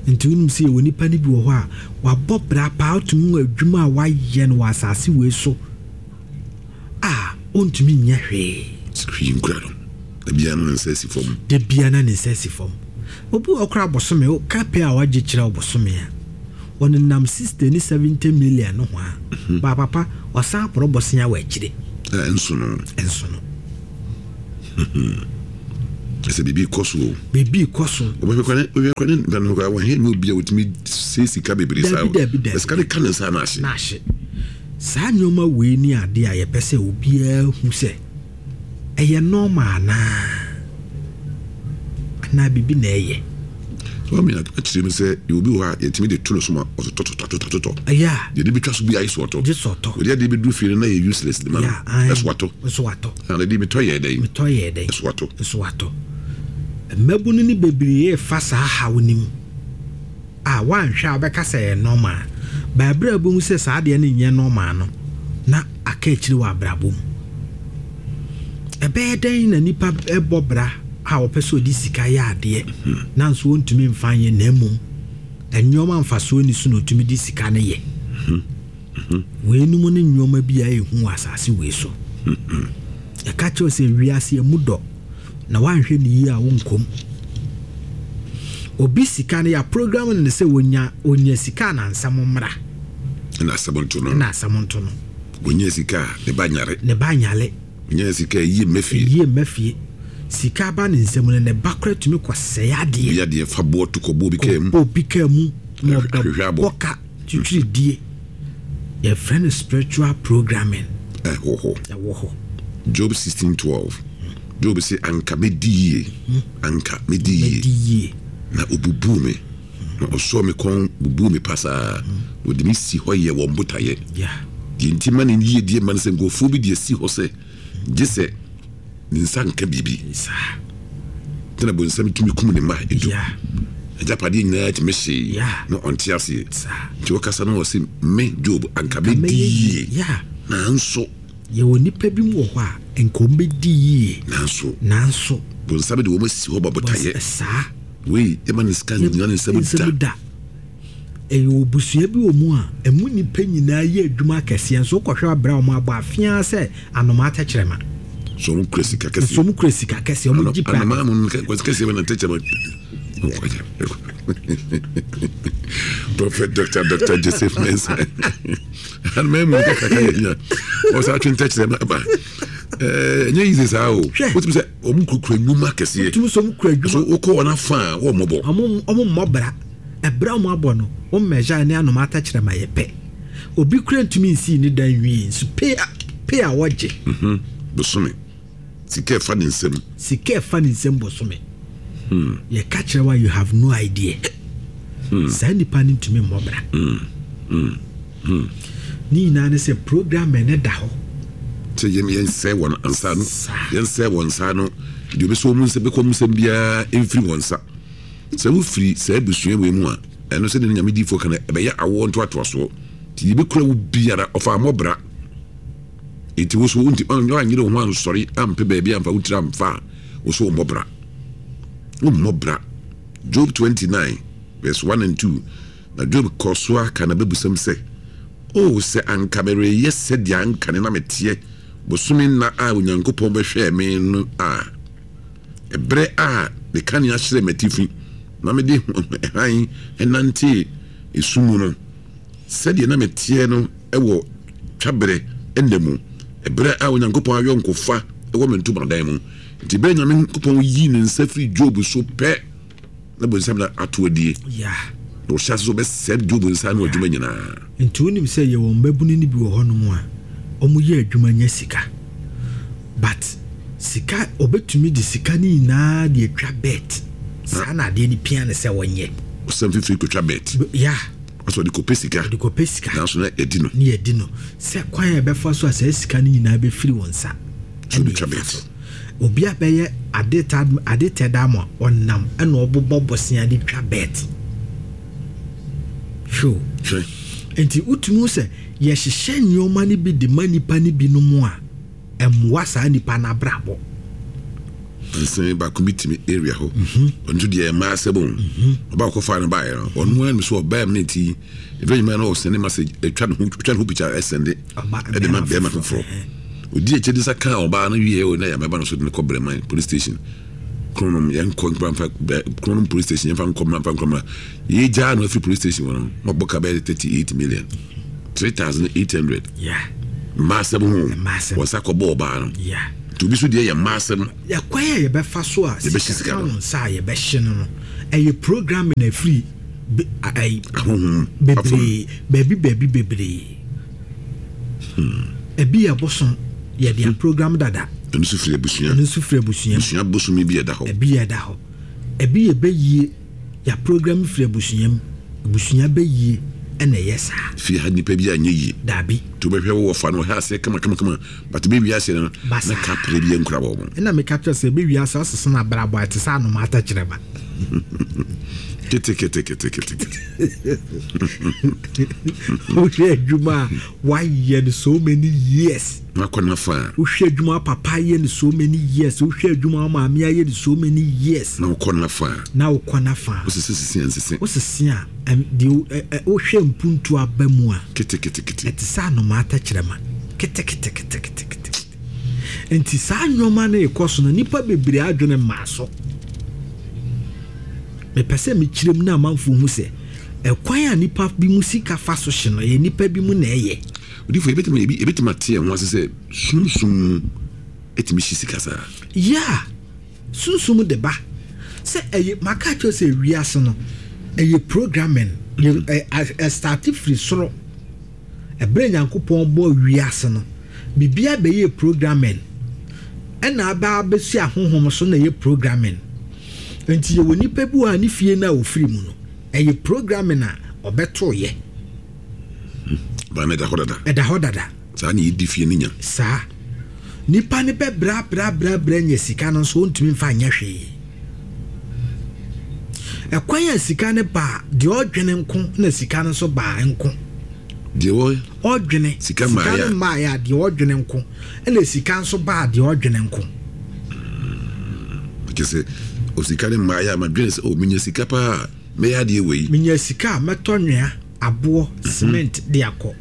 Nti wonim sɛ yɛwɔ nnipa no bi wɔ hɔ a, wabɔ bra paa, wotumi hu adwuma a wayɛ no wɔ asase wei so. a ɔntumi nyɛ hwee. Hwee nkura no. Da biara na ne nsa asi fam. Da biara na ne nsa asi fam. Obi wɔ hɔ koraa bosome, woka pɛ a wagye kyerɛ wo bosome a, ɔnenam 60 ne 70 million no ho a, mhm. ba papa, ɔsan aporɔ bosea wɔ akyire. Ɛnso no. Ɛnso no. Ɛsɛ biribi kɔ so o. Biribi kɔ so. Wɔbɛhwɛ kora ne wɔhwɛ kora ne nda no kora wɔhwɛ nyɛ obi a wɔtumi sɛ sika bebree saa. Dabi dabi dabi. Sika de ka ne nsa na ahye. Na ahye. Saa nneɛma wei ne adeɛ a yɛpɛ sɛ obiara hu sɛ ɛyɛ normal anaa, anaa biribi na ɛyɛ. Maame akyerɛ mu sɛ yɛwɔ bi wɔ hɔ a yɛtumi de to no so ma ɔtotɔtotɔtotɔ. Ɛyɛ a. Deɛ de bɛtwa so bi ayɛ so ɔtɔ. Gye sɛ ɔtɔ. Wɔde adeɛ bɛduru fie no na yɛ useless de ma no. Ɛso atɔ. Nso atɔ. Na de metɔ yɛɛ dɛn? Metɔ yɛɛ dɛn? Ɛso atɔ. Nso atɔ. Mmabunu no bebree refa saa haw no mu. a woanhwɛ a wobɛka sɛ ɛyɛ normal but berɛ a wobɛhu sɛ saa adeɛ no nyɛ normal no na aka akyiri wɔ abrabɔ mu. Ɛbɛyɛ dɛn na nipa bɔ bra a ɔpɛ sɛ ɔde sika yɛ adeɛ nanso ɔntumi mfa nyɛ na mmom nneɛma mfasoɔ ni so na ɔtumi de sika no yɛ. Weinom ne nneɛma bi a ɛyɛ hu wɔ asase wei so. Yɛka kyerɛ wo sɛ wiase emu dɔ na woanhwɛ no yie a wonkɔ mu. Obi sika no yɛaprogram no sɛ onya onya sika a na nsɛm mmra. Ɛna asɛm nto no. Ɛna asɛm nto no. Onya sika a ne ba nyare. Ne ba nyare. Onya sika a ɛyie mma fie. Ɛyie mma fie. Sika aba ne nsam no ne ba koraa tumi kɔsɛe adeɛ. Obi adeɛ fa boɔ to kɔbɔ obi kaa mu. Kɔbɔ obi kaa mu. Hwehwɛ abɔ. Bɔ ka. Twitwiridie. Yɛfrɛ no spiritual programming. Ɛwɔ hɔ. Ɛwɔ hɔ. Job 16:12. Job se anka mɛdi yie. Anka mɛdi yie. Mɛdi yie. Na ɔbubuu me. Na ɔsɔɔ me kɔn bubuu me pasaa. Na ɔde me si hɔ yɛɛ wɔn botaeɛ. Deɛ nti ma ne yiedie mma ne sɛ nkurɔfoɔ bi de asi hɔ sɛ gye sɛ ne nsa nka biribi. Nti na bonsam tumi kum ne mma edu. Agyapadeɛ nyinaa tumi hyee na ɔnte aseɛ. Nti ɔkasa no ɔse me Job anka mɛdi yie. Nanso. Yɛwɔ nnipa bi mu wɔ hɔ a nka wɔn bɛdi yie. Nanso. Nanso. Bonsam de wɔn asi hɔ ma botaeɛ. Saa. Wei yɛma ne sika nnyina ne nsam da. Ɛyɛ obusua bi wɔ mu a, ɛmu nnipa nyinaa yɛ adwuma akɛseɛ nso wokɔhwɛ abrɛ a wɔn abɔ afeaa sɛ anomaa tɛkyerɛma. So wɔn kura sika kɛseɛ. Nso wɔn kura sika kɛseɛ wɔn gye paa. Anomaa mu kɛseɛ bɛ na tɛkyerɛma. Prophet Dr. Dr. Joseph Mensah. Anomaa mu kɛkɛ yɛ hia. Ɔsɛ atwe ntɛkyerɛma ba. Ɛnyɛ easy saa o. Wotumi sɛ wɔn kurakura nnwuma kɛseɛ. Wotumi sɛ wɔn kura adwuma. So wokɔ wɔn afa a wɔn mmɔbɔ. Wɔn mmɔ bra. Ɛberɛ a wɔn abɔ no, wɔn mmɛgyae ne anomaa tɛkyerɛma yɛ pɛ. Obi kura ntumi nsii ne dan nwie nso pay a pay a wɔgye. Mhm, bosome. Sika ɛfa ne nsam. Sika ɛfa ne nsam bosome. Hmm. Yɛka kyerɛ wa you have no idea. Hmm. Saa nipa no ntumi mmɔ bra. Hmm. Hmm. Hmm. Ne nyinaa ne sɛ program ne da hɔ. Sɛ yɛn yɛnsɛe wɔn nsa no yɛnsɛe wɔn nsa no deɛ obɛsɛ wɔn nsa bɛkɔ wɔn nsam biara mfiri wɔn nsa. Sɛ wofiri saa abusua wei mu a, ɛno sɛdeɛ ne Nyame diifoɔ ka no, ɛbɛyɛ awoɔ ntoatoasoɔ. Nti deɛ ɛbɛkura wo biara, ɔfa mmɔ bra. Nti wo so wonti woanyere wo ho ansɔre ampɛ baabi amfa wo tiri amfa a, wo so wommɔ bra. Wommɔ bra. Job 29 verse 1 and 2. Na Job kɔɔ so ara kaa n'abebusɛm sɛ, O sɛ anka mereyɛ sɛdeɛ ankane na meteɛ bosome nna a Onyankopɔn bɛhwɛɛ me no a! Ɛberɛ a ne kanea hyerɛn m'atifi na mede hann nantee esum mu no, sɛdeɛ na meteɛ no wɔ twaberɛ nna mu, ɛberɛ a Onyankopɔn ayɔnkofa wɔ me ntomadan mu. Nti berɛ a Nyankopɔn yii ne nsa firii Job so pɛ, na bonsam na ato adie. Na ɔhyɛ ase sɛ ɔbɛsɛe Job nsa ano adwuma nyinaa. Nti wonim sɛ yɛwɔ mmabunu no bi wɔ hɔnom a wɔyɛ adwuma nya sika but sika ɔbɛtumi de sika no nyinaa de atwa bet saa na adeɛ no pia no sɛ ɔnyɛ. Ɔsan fifiri kɔtwa bet. Yeah. Ɔsɛ ɔde kɔpɛ sika. Ɔde kɔpɛ sika. Nanso na yɛdi no. Ne yɛdi no sɛ kwan a ɛbɛfa so a saa sika no nyinaa bɛfiri wo nsa. So ɔde twa bet. Obi abɛyɛ ade ta ade tɛ da ma ɔnam ɛna ɔbobɔ bosea de twa bet. Hwɛ o. Hwɛ. Nti wotumi hu sɛ yɛhyehyɛ nneɛma no bi de ma nnipa no binom a, ɛmmoa saa nnipa no abrabɔ. Nsɛn baako bi tumi area hɔ. Ɔno nso deɛ mmaa asɛm o. Ɔbaa ɔkɔfaa no baeɛ no, ɔno ara nim sɛ ɔbaa mu no nti, ɛfɛ nyinaa na ɔsɛnde message, ɛtwa ne ho, twa ne ho picture ɛsɛnde ɛde ma bɛrima foforɔ. Ɔdi akyire de nsa kaa ɔbaa no wieɛ o na yɛamɛba no so de no kɔ Brɛman police station. Kronom yɛnkɔ nkura mfa Kronom police station yɛmfa nkɔ mfa nkɔ mma. Yɛgyaa no afiri police station hɔ no, na ɔbɔ ka bɛyɛ 38 million. 3,800. Yeah. Mmaa asɛm ho. Mmaa asɛm. Wɔn nsa kɔbɔ ɔbaa no. Yeah. Nti obi so deɛ yɛ mmaa asɛm. Ɛkwan a yɛbɛfa so a Yɛbɛhye sika ka no. wo nsa a yɛbɛhye no no, ɛyɛ programming a ɛfiri be, ayi, Ahonhom bebree, baabi baabi bebree. Ebi yɛ bosom, yɛde hmm. aprogram dada. Ɛno nso firi abusua. Ɛno nso firi abusua. Abusua bosom bi ɛda hɔ. Ebi yɛ ɛda hɔ. Ebi yɛ bɛyie, yɛaprogram firi abusua mu. Abusua bɛyie ɛna ɛyɛ saa. Fie ha nipa bi anyɛ yie. Daabi. To bɛhwɛ wo wɔfa no ɔhɛ aseɛ kama kama kama but bɛ wiase no na ka pere bi nkura wɔn. Ɛna meka kyerɛ sɛ bɛ wiase asesa na abrabɔ a ɛte sɛ anoma atɛkyerɛma. Kete kete kete kete kete. Wohwɛ adwuma a wayɛ no so many years. Wakɔ n'afa. Wohwɛ adwuma papa ayɛ no so many years. Wohwɛ adwuma maame ayɛ no so many years. Na wokɔ n'afa. Na wokɔ n'afa. Wosese sese a nsese. Wosese a deɛ wohwɛ mpuntu aba mu a. Kete kete kete. Ɛte sɛ anomaa tɛkyerɛma. Kete kete kete kete kete. Nti saa nneɛma no rekɔ so no nnipa bebree adwene mmaa so. Mepɛ sɛ mekyerɛ mu na amanfoɔ hu sɛ ɛkwan a nnipa bi mu sika fa so hye no, ɛyɛ nnipa bi mu na ɛyɛ. Odifo, yɛbɛtumi yɛbɛtumi ate yɛn ho ase sɛ sunsum mu ɛtumi hye sika saa? Yeah, sunsum de ba. Sɛ ɛyɛ, maka akyerɛ sɛ wiase no, ɛyɛ programming. Ɛstarte firi soro. Ɛberɛ Nyankopɔn bɔɔ wiase no, biribiara bɛyɛɛ programming. Ɛna aba abɛsi ahonhom so na ɛyɛ programming. Nti yɛwɔ nipa bi wɔ a ne fie no a ɔfiri mu no, ɛyɛ programming a ɔbɛtoeɛ. Ba no ɛda hɔ dada. Ɛda hɔ dada. Saa na yɛdi fie no nya. Saa. Nipa no bɛbrɛabrɛabrɛabrɛ anya sika no nso ɔntumi mfa nyɛ hwee. Ɛkwan a sika no baa, deɛ ɔdwene nko na sika no nso baa nko. Deɛ wɔ ɔdwene sika mmaeɛ no mmaeɛ a deɛ ɔdwene nko ɛna sika nso baa deɛ ɔdwene nko. Kyɛ sɛ osika no mmaeɛ a madwene sɛ oh menya sika paa mɛyɛ adeɛ wei. Menya sika a mɛtɔ nwea. Aboɔ, cement de akɔ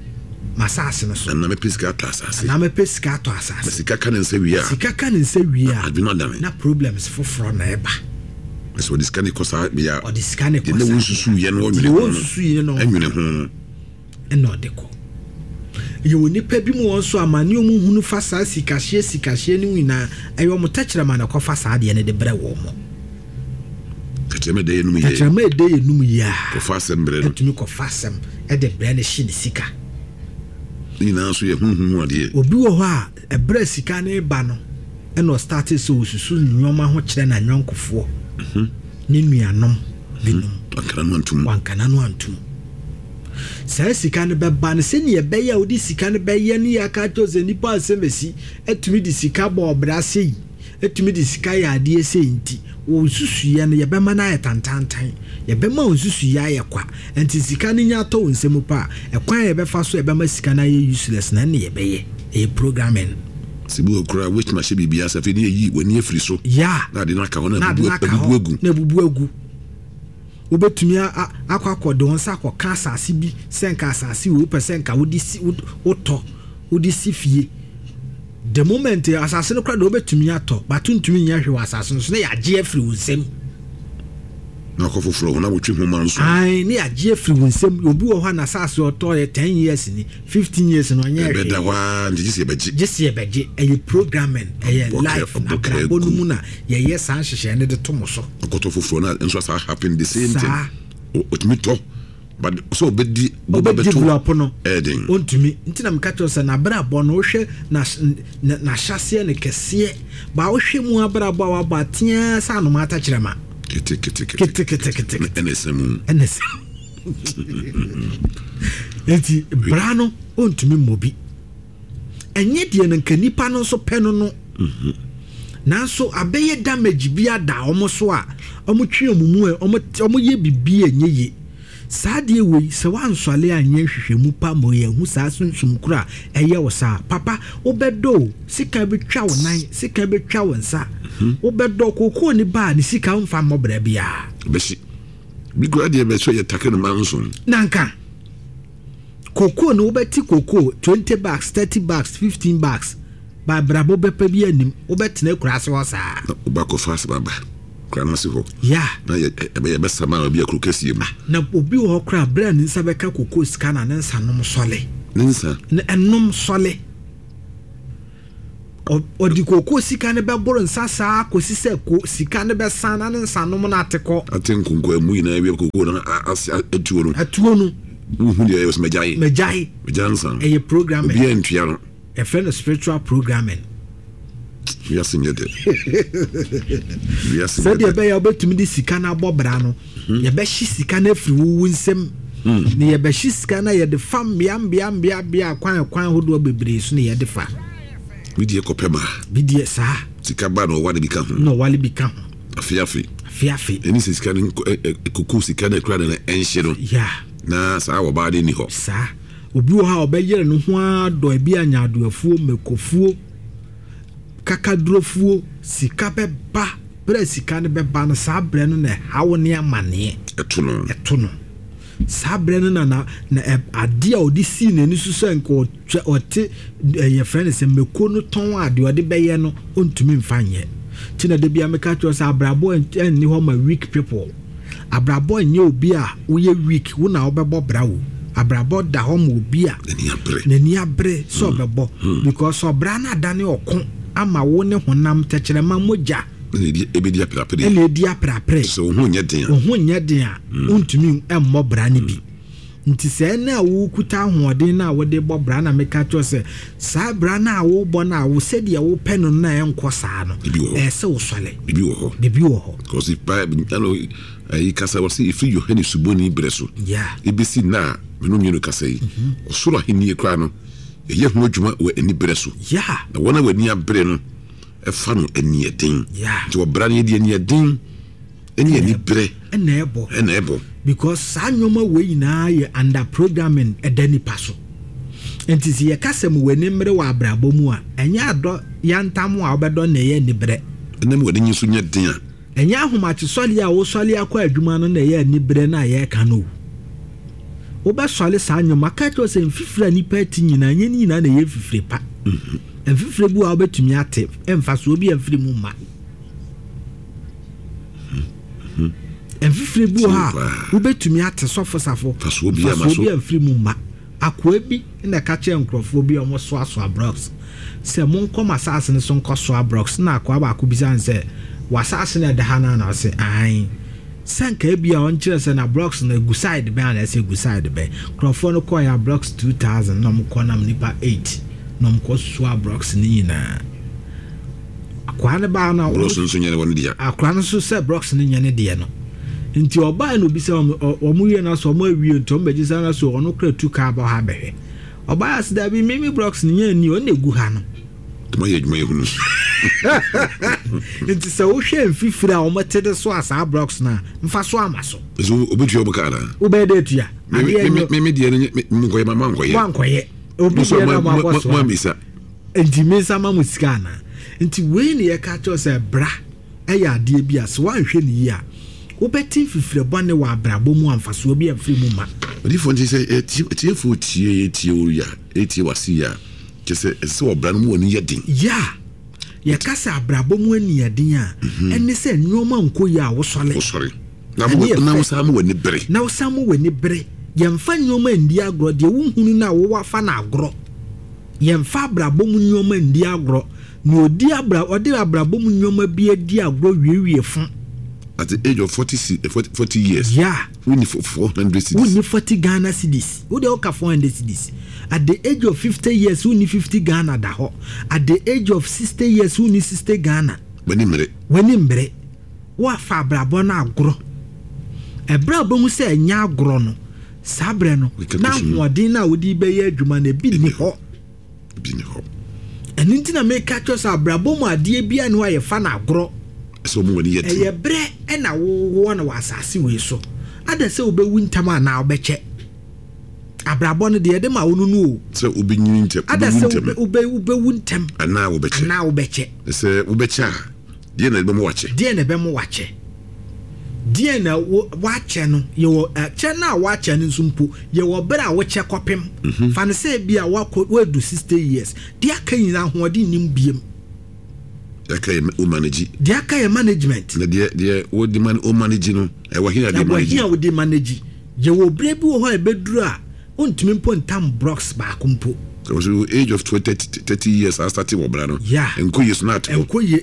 m'asase no so. Anaa mɛpɛ sika atɔ asase. Anaa mɛpɛ sika atɔ asase. Na sika ka ne nsa wie a. Sika ka ne nsa wie a. Adwene adane. Na problems foforɔ na ɛba. Na sɛ ɔde sika no kɔ saa bea a. Ɔde sika no kɔ saa bea. Deɛ na wɔnsusu yɛ no ɔnwene ho no. Ɛnwene ho no. Ɛna ɔde kɔ. Yɛwɔ nnipa bi mu wɔn nso amane wɔn hunu fa saa sikahyeɛ sikahyeɛ no nyinaa ɛyɛ wɔn tɛkyerɛma na ɛkɔfa saa adeɛ no de brɛ wɔn. Tɛkyerɛma ɛdɛ yɛ num yie. Tɛkyerɛma ɛdɛ yɛ num yie a. Kɔfa asɛm brɛ no. Ɛtumi kɔfa asɛm ɛde brɛ no hye ne sika. Ne nyinaa nso yɛ honhom mu adeɛ. Obi wɔ hɔ a ɛberɛ a sika no reba no ɛna ɔstartee sɛ ɔsusu nnoɔma ho kyerɛ n'ayɔnkofoɔ ne nuanom binom. Wanka n'ano antom. Wanka n'ano antom. Saa sika no bɛba no sɛnea ɛbɛyɛ a wode sika no bɛyɛ ne yɛaka akyerɛ wo sɛ nnipa asɛm asi atumi de sika bɔ ɔbra sei. tumi de sika yɛ adeɛ sei nti, wo nsusuiɛ no, yɛbɛma no ayɛ tantaantan. Yɛbɛma wo nsusuiɛ ayɛ kwa. Nti sika no nya tɔ wo nsam pɛ a, ɛkwan a yɛbɛfa so a ɛbɛma sika no ayɛ useless no, ɛno na yɛbɛyɛ. Ɛyɛ programming. Sɛ bi wɔ hɔ koraa a, wobɛtumi ahyɛ biribi ase, afei ne yɛayi w'ani afiri so, Yeah. na ade no aka hɔ, na Na ade no abubu aka abubu hɔ, agu. na abubu agu. Wobɛtumi a, akɔ akɔde wo nsa akɔka asase bi sɛ nka asase wei wopɛ sɛ nka wode si, wotɔ, wode si fie. The moment asase no koraa deɛ wobɛtumi atɔ but wontumi nyɛ hwee wɔ asase no so na yɛagye afiri wo nsam. Na akɔ foforɔ ho na wotwe ho ma nso. Ae ne yɛagye afiri wo nsam. Obi wɔ hɔ a n'asase ɔtɔ yɛ 10 years ni, 15 years no ɔnyɛ hwee. Ɛbɛda hɔ ara nti gye sɛ yɛbɛgye. Gye sɛ yɛbɛgye. Ɛyɛ programming, ɛyɛ life, abrabɔ no mu na yɛyɛ saa nhyehyɛe no de to mo so. Ɔkɔtɔ foforɔ na nso asa happen the same thing. Saa. Ɔtumi tɔ. But sɛ ɔbɛdi boba Ɔbɛ bɛto develop no ɛyɛ den. Ɔntumi. Nti na meka kyerɛ wo sɛ n'abrabɔ no wohwɛ n'ahyɛaseɛ no kɛseɛ ba wohwɛ mu abrabɔ a wabɔ a teaa sɛ anomaa tɛkyerɛma. Kete kete kete. Kete kete kete kete. Ɛna ɛsɛ mu. Ɛna ɛsɛ Nti bra no ɔntumi mmɔ bi. Ɛnyɛ deɛ no nka nipa no nso pɛ no no. Nanso abɛyɛ damage bi ada wɔn so a wɔtwe wɔn mu a wɔyɛ biribi a ɛnyɛ yie. Saa adeɛ wei, sɛ woansɔre anyɛ nhwehwɛmu pa ma yɛahu saa sunsum koro a ɛyɛ wo saa a, papa, wobɛdɔ o, sika bɛtwa wo nan, sika bɛtwa wo nsa, wobɛdɔ. Kookoo ni ba a, ne sika womfa mmɔ bra biara. Bɛhye. Bi koraa deɛ bɛsɔ yɛ take no manson. Nanka. Kookoo no wobɛte kookoo 20 bags, 30 bags, 15 bags, ba abrabɔ bɛpa bi anim, wobɛtena akuraase hɔ saa. Na wobɛakɔfa asɛm aba kura no ase hɔ. Yeah. Na yɛ ɛbɛ yɛbɛsa ma obi akuro kɛseɛ mu. Ah, na obi wɔ hɔ koraa berɛ a ne nsa bɛka kookoo sika na ne nsa nom sɔle. Ne nsa? Ne ɛnom sɔle. Ɔde kookoo sika no bɛboro nsa saa kɔsi sɛ ko sika no bɛsa na ne nsanom no ate kɔ. Ate nkonkoamu nyinaa wie kookoo no ase atuo no. Atuo no. Wohu deɛ ɛyɛ sɛ magyae. Magyae. Magyae nsa no. Ɛyɛ programming. Obiara ntua no. Yɛfrɛ no spiritual programming. Wiase nyɛ dɛ. Wiase nyɛ dɛ. Sɛdeɛ ɛbɛyɛ a wobɛtumi de sika no abɔ bra no, mhm. yɛbɛhye sika no afiri wo wo nsam. Hmm. Na yɛbɛhye sika no a yɛde fa mmea mmea mmea mmea kwan kwan ahodoɔ bebree so na yɛde fa. Bi deɛ kɔpɛ ma. Bi deɛ saa. Sika ba na ɔwale bi ka ho. Na ɔwale bi ka ho. Afe afe. Afe afe. Ɛne sɛ sika no koko sika no akura no na ɛnhye no. Ya. Na saa wɔbaa de ni hɔ. Saa. Obi wɔ hɔ a ɔbɛyere ne ho ara dɔ ebi a nyaadoafuo, mmakofuo, kakadurofuo, sika bɛba. Berɛ a sika no bɛba no, saa berɛ no na ɛhaw ne amaneɛ. Ɛto no. Ɛto no. Saa berɛ no na na na ɛ adeɛ a ɔde sii n'ani so sɛ nka ɔtwa ɔte ɛ yɛfrɛ no sɛ mako no tɔn a deɛ ɔde bɛyɛ no ɔntumi mfa nyɛ. Nti na da biara meka kyerɛ wo sɛ abrabɔ ɛnni hɔ ma weak people. Abrabɔ nyɛ obi a woyɛ weak wo na wobɛbɔ bra o. Abrabɔ da hɔ ma obi a n'ani abere sɛ ɔbɛbɔ because ɔbra no adane ɔko ama wo ne honam, tɛkyerɛma, mogya. Ɛna ɛbɛdi aperapere. Ɛna ɛdi aperapere. Sɛ wo ho nyɛ den a. Wo ho nyɛ den a, wontumi mmɔ bra no bi. Nti sɛ ɛnɛ a wokuta ahoɔden no a wode bɔ bra na meka kyerɛ sɛ saa bra no a wobɔ no a wo sɛdeɛ wopɛ no no a ɛnkɔ saa no, ɛyɛ sɛ wosɔre. Bibi wɔ hɔ. Bibi wɔ hɔ. Because if Bible ɛna ayi kasa wɔ sɛ ɛfiri Yohane Suboni berɛ so ɛbɛsi nna a me no mmienu kasa yi, ɔsoro ahennie koraa no yɛyɛ ho adwuma wɔ aniberɛ so. Na wɔn a wɔn ani abere no fa no aniɛden. Nti ɔbra no yɛde aniɛden ɛne aniberɛ ɛna ɛbɔ. Ɛna ɛbɔ. Because saa nneɛma wei nyinaa yɛ under programming ɛda nipa so. Nti sɛ yɛka sɛ mo w'ani mmere wɔ abrabɔ mu a, ɛnyɛ adɔ yantam a wobɛdɔ na ɛyɛ aniberɛ. Ɛna mu w'ani nso nyɛ den a. Ɛnyɛ ahomakyesɔre a wosɔre akɔ adwuma no na ɛyɛ aniberɛ no a yɛreka no o. Wobɛsɔre saa nneɛma, maka kyerɛ wo sɛ mfifire a nipa ati nyinaa, ɛnyɛ ne nyinaa na ɛyɛ mfifire pa. Mfifire bi wɔ a wobɛtumi ate, mfasoɔ bi amfiri mu mma. Mfifire bi wɔ hɔ a wobɛtumi ate sɔfo safo, mfasoɔ bi amfiri mu mma. Akoa bi na ɛka kyerɛɛ nkurɔfoɔ bi a wɔsoasoa blocks sɛ, Monkɔ m'asase no so nkɔsoa blocks. Ɛnna akoa baako bisaa no sɛ, W'asase na ɛda ha no anaa? Ɔse, Aane. Sɛ anka ebia ɔnkyerɛ sɛ na blocks no ɛgu side bɛn anaasɛ ɛgu side bɛn. Nkurɔfoɔ no kɔeɛ a blocks 2000 na wɔkɔ nam nnipa 8 na wɔkɔsoaa blocks no nyinaa. Akoa no baa no a. Blocks no nso nyɛ ne dea. Akoa no nso sɛ blocks no nyɛ ne deɛ no. Nti ɔbaa na obisa wɔn, wɔn wie no asɛ wɔn awie nti wɔn bɛgye sɛ na so ɔno kora tu kaa bɔ ha bɛhwɛ. Ɔbaa ase dabi me me blocks no nyɛ ni ɔno na egu ha no. Tuma yɛ adwuma yɛ hunu. Nti sɛ wohwɛ mfifiri a wɔn te de so a saa blocks no a mfa so ama so. Nso obetua wɔn kaa na. Wobɛyɛ dɛ atua. Adeɛ nyɛ. Me me deɛ no nyɛ me nkɔyɛ ma ma nkɔyɛ. Mo ankɔyɛ. Obi deɛ na mo akɔ so. Mo amisa. Nti me nsa ma mo sika anaa? Nti wei ne yɛka kyerɛ sɛ bra yɛ adeɛ bi a sɛ woanhwɛ no yie a wobɛte mfifire bɔne wɔ abrabɔ mu a mfasoɔ bi amfiri mu mma. Odiyifoɔ nti sɛ atiefoɔ tie yɛ tie wo ya tie w'ase yie a kyerɛ sɛ ɛsɛ sɛ ɔbra no mu ani yɛ den. Yeah, yɛka sɛ abrabɔ mu ani yɛ den a ɛne sɛ nnoɔma nkɔ yie a wosɔre. Wosɔre. Na wosan ma w'ani bere. Na wosan ma w'ani bere. Yɛmfa nnoɔma nni agorɔ, deɛ wohunu no a wowɔ afa no agorɔ. Yɛmfa abrabɔ mu nneɛma nni agorɔ. Nea ɔdi abra ɔde abrabɔ mu nneɛma bi adi agorɔ wiewie fo. At the age of 40, 40 years. Yeah. Wonni 400 cedis. Wonni 40 Ghana cedis. Wo deɛ woka 400 cedis. At the age of 50 years wonni 50 Ghana da hɔ. At the age of 60 years wonni 60 Ghana. W'ani mmere. W'ani mmere. Woafa abrabɔ no agorɔ. Ɛberɛ a wobɛhu sɛ ɛnyɛ agorɔ no, saa berɛ no, na ahoɔden no a wode bɛyɛ adwuma no, ebi nni hɔ. Ebi nni hɔ. Ɛno nti na meka kyerɛ sɛ abrabɔ mu adeɛ biara nni hɔ a yɛfa no agorɔ. Ɛsɛ wɔn ani yɛ den. Ɛyɛ berɛ na wowɔ no wɔ asase wei so. Ada sɛ wobɛwu ntɛm anaa wobɛkyɛ. Abrabɔ no deɛ yɛde ma wo no no o. Sɛ wobɛnyini ntɛm, Ada sɛ wobɛwu ntɛm anaa wobɛkyɛ. Anaa wobɛkyɛ. Sɛ wobɛkyɛ a, Deɛn na ɛbɛma wakyɛ? Deɛn na ɛbɛma wakyɛ? Deɛn na wakyɛ no? Yɛwɔ kyɛ no a wakyɛ no nso mpo, yɛwɔ berɛ a wokyɛ kɔpem. Mhm. Fa no sɛ bi a wakɔ wadu 60 years. Deɛ aka nyinaa ahoɔden nnim biem. Deɛ aka yɛ wo manage. Deɛ aka yɛ management. Na deɛ deɛ wode man wo manage no, ɛwɔ he a de manage? Ɛwɔ he a wode manage? Yɛwɔ berɛ bi wɔ hɔ a ɛbɛduru a wontumi mpo ntam blocks baako mpo. So age of 20, 30 years a start wɔ bra no. Yeah. Nkɔ yie so na ate hɔ. Nkɔ yie.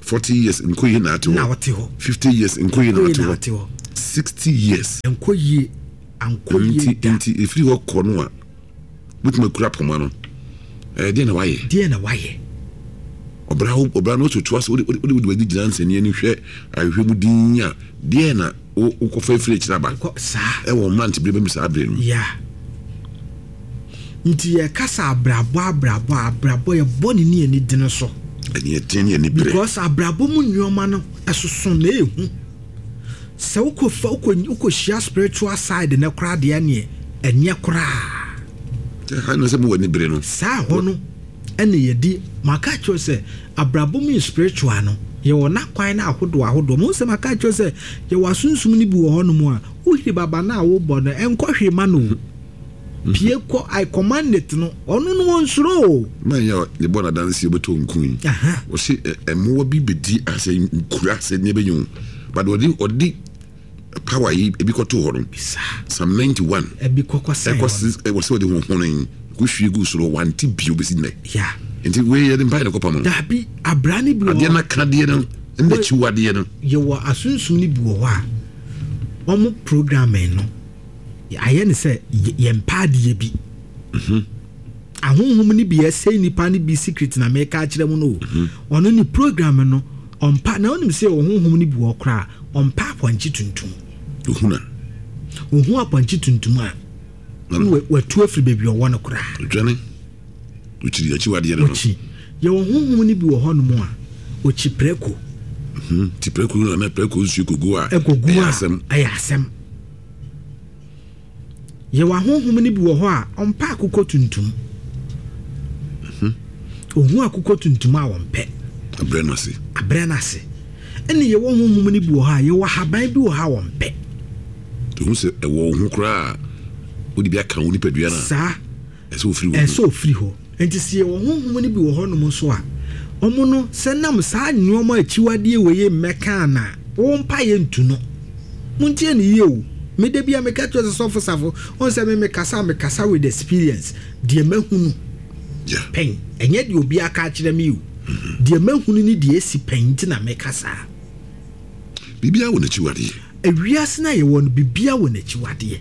40 years nkɔ yie na ate hɔ. Na ɔte hɔ. 50 years nkɔ yie na ate hɔ. 60 years. Nkɔ yie ankɔ yie da. Nti efiri hɔ kɔ no a wotumi akura poma no. Ɛɛ deɛ na wayɛ. Deɛ na wayɛ. Ɔbra ɔbra no otu ase wode wode wode w'ani gyina nsɛnniɛ no hwɛ ahwehwɛ mu din a deɛ na wokɔfa afiri akyiri aba ɛwɔ mmerante bere bɛm saa bere no. Yeah. Nti yɛkasa abrabɔ abrabɔ a abrabɔ yɛbɔ ne ne ani dene so. Ɛne ɛden ne ani bere. Because abrabɔ mu nneɛma no ɛsoso na ehu. Sɛ wokɔ fa wokɔ wokɔhyia spiritual side no koraa deɛ neɛ ɛnyɛ koraa. Ɛha na sɛ mo wɔ ani bere no. Saa hɔ no ɛna yɛdi maka akyerɛ sɛ abrabɔ mu spiritual no yɛwɔ n'akwan no ahodoɔ ahodoɔ. Mo sɛ maka akyerɛ sɛ yɛwɔ asunsum no bi wɔ hɔ nom a wohiri baba no a wobɔ no ɛnkɔ hwee ma no o. Pie kɔ I command it no ɔno no ɔnsuro o. Man yi a yɛbɔ no adanseɛ ɔbɛtɔ nku yi ɔse mmoa bi bɛdi asɛ nkura sɛ nneɛ bɛnyɛ o but ɔde ɔde power yi ebi kɔto hɔ no Psalm 91 ɛbi kɔkɔ sɛn ɛkɔ ɛwɔ sɛ ɔde honhono yi kɔhwie gu soro wante bio bɛsi nnɛ nti wei yɛde mpaeɛ na kɔpam no dabi abra ne bi wɔ adeɛ no akadeɛ no. Ɛna akyiwadeɛ no. Yɛwɔ asunsum no bi wɔ hɔ a, wɔn programming no, ayɛ ne sɛ yɛmpɛ adeɛ bi. Ahonhom no bi ɛsɛe nipa no bi secret na meka akyerɛ mu no o. Ɔno ne program no, ɔmpa, na wonim sɛ yɛwɔ honhom no bi wɔ hɔ koraa a, ɔmpɛ apɔnkye tuntum. Ohuna. Ohu apɔnkye tuntum a, na watu afiri baabi ɔwɔ no koraa. Odwane. Okyiri akyiwadeɛ no. Okyi. Yɛwɔ honhom no bi wɔ hɔnom a, okyi prɛko. Ti prɛko no na prɛko nsuo kogu a, ɛyɛ asɛm. Ɛyɛ asɛm. Yɛwɔ ahonhom no bi wɔ hɔ a, ɔmpɛ akokɔ tuntum. Ohu akokɔ tuntum a ɔmpɛ. Abrɛ no ase. Abrɛ no ase. Ɛna yɛwɔ honhom no bi wɔ hɔ a, yɛwɔ ahaban bi wɔ hɔ a ɔmpɛ. Ehu sɛ ɛwɔ wo ho koraa a, wode bi aka wo nipadua no a. Saa. Ɛsɛ ofiri wo ho. Ɛsɛ ofiri hɔ. Enti sɛ yɛwɔ honhom no bi wɔ hɔnom nso a, wɔn no, sɛ nam saa nnoɔma akyiwadeɛ wei yi mmɛka a na wo mpaeɛ ntu no. Montie no yie o. Me da biara meka kyerɛ sɛ Sɔfo Safo, wohu sɛ me mekasa a, mekasa with experience. Deɛ mahunu pɛn, ɛnyɛ deɛ obi aka akyerɛ me o. Deɛ mahunu ne deɛ asi pɛn nti na meka saa. Biribiara wɔ n'akyiwadeɛ. Ewiase no a yɛwɔ no, biribiara wɔ n'akyiwadeɛ.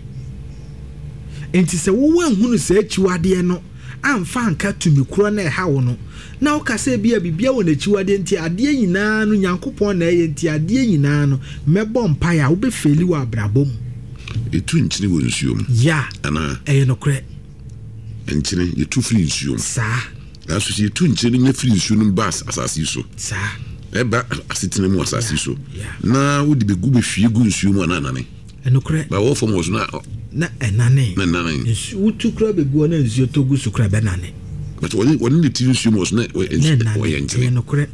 Enti sɛ wo woanhunu saa akyiwadeɛ no amfa anka tumi korɔ no a ɛha wo no, na woka sɛ ebia biribiara wɔ n'akyiwadeɛ nti adeɛ nyinaa no Nyankopɔn na ɛyɛ nti adeɛ nyinaa no mɛbɔ mpaeɛ a, wobɛfeeli wɔ abrabɔ mu. Yɛtu nkyene wɔ nsuo mu. Yeah, Anaa? ɛyɛ nokorɛ. Nkyene, yɛtu firi nsuo mu. Saa. Nanso sɛ yɛtu nkyene no nya firi nsuo no mu ba asase yi so. Saa. Ɛba asetena mu asase yi so. Na wode bɛgu bɛhwie gu nsuo mu a na anane. Ɛnokorɛ. Ba wɔ fam wɔ so na. Na ɛnane. Na ɛnane. Nsu wotu kura bɛgu hɔ na nsuo tɔ gu so kura bɛnane. But wɔne wɔne ne ti nsuo mu wɔ so na ɔyɛ nkyene. Ɛyɛ nokorɛ.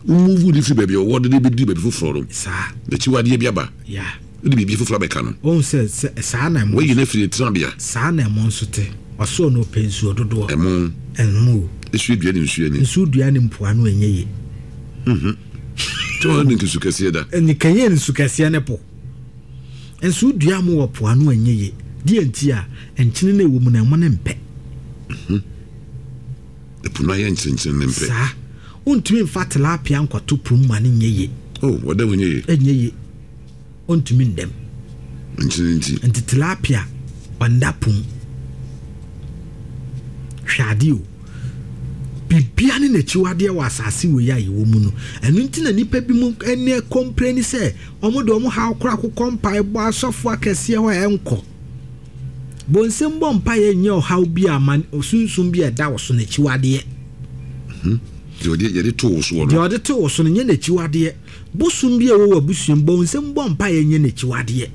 Wo move no firi baabi a ɔwɔ de no bɛduru baabi foforɔ no. Saa. N'akyiwadeɛ bi aba. Yeah. Wode biribi foforɔ abɛka no. Wohu sɛ, sɛ, saa na ɛmo. Woayi no afiri ne tenabea. Saa na ɛmo nso te. Ɔsoro no ɔpɛ nsuo dodoɔ. Ɛmo. Ɛmo o. Nsuo dua ne nsuo ani. Nsuo dua ne mpoano ɛnyɛ yie. Mhm. Kyɛ wɔn ne nsu kɛseɛ da. Ɛne kɛnyɛ nsu kɛseɛ ne po. Nsuo dua mo wɔ poano ɛnyɛ yie. Deɛ nti a, nkyene no ɛwɔ mu no ɛmo no mpɛ. Mhm. Ɛpo no ayɛ nkyenkyen ne mpɛ. Saa. Wontumi mfa tilapia nkɔto po mu ma no nyɛ yie. Oh, wɔda mu nyɛ yie. Ɛnyɛ yie. Ɔntumi nda mu. Nkyene nti. Nti tilapia ɔnda po mu. Hwɛ adeɛ o. Biribiara ne n'akyiwadeɛ wɔ asase wei a yɛwɔ mu no. Ɛno nti na nnipa bi mu ɛnɛ kɔmpleni sɛ wɔn de wɔn haw koraa kokɔ mpaebɔ asɔfo akɛseɛ hɔ a ɛnkɔ. Bonsam bɔ mpaeɛ nyɛ ɔhaw bi a ma sunsum bi a ɛda wo so n'akyiwadeɛ. Hmm. Deɛ ɔde yɛde to wo soɔ no. Deɛ ɔde to wo so no nyɛ n'akyiwadeɛ. Bosom bi a ɛwɔ w'abusua mu, bonsam bɔ mpaeɛ nyɛ n'akyiwadeɛ.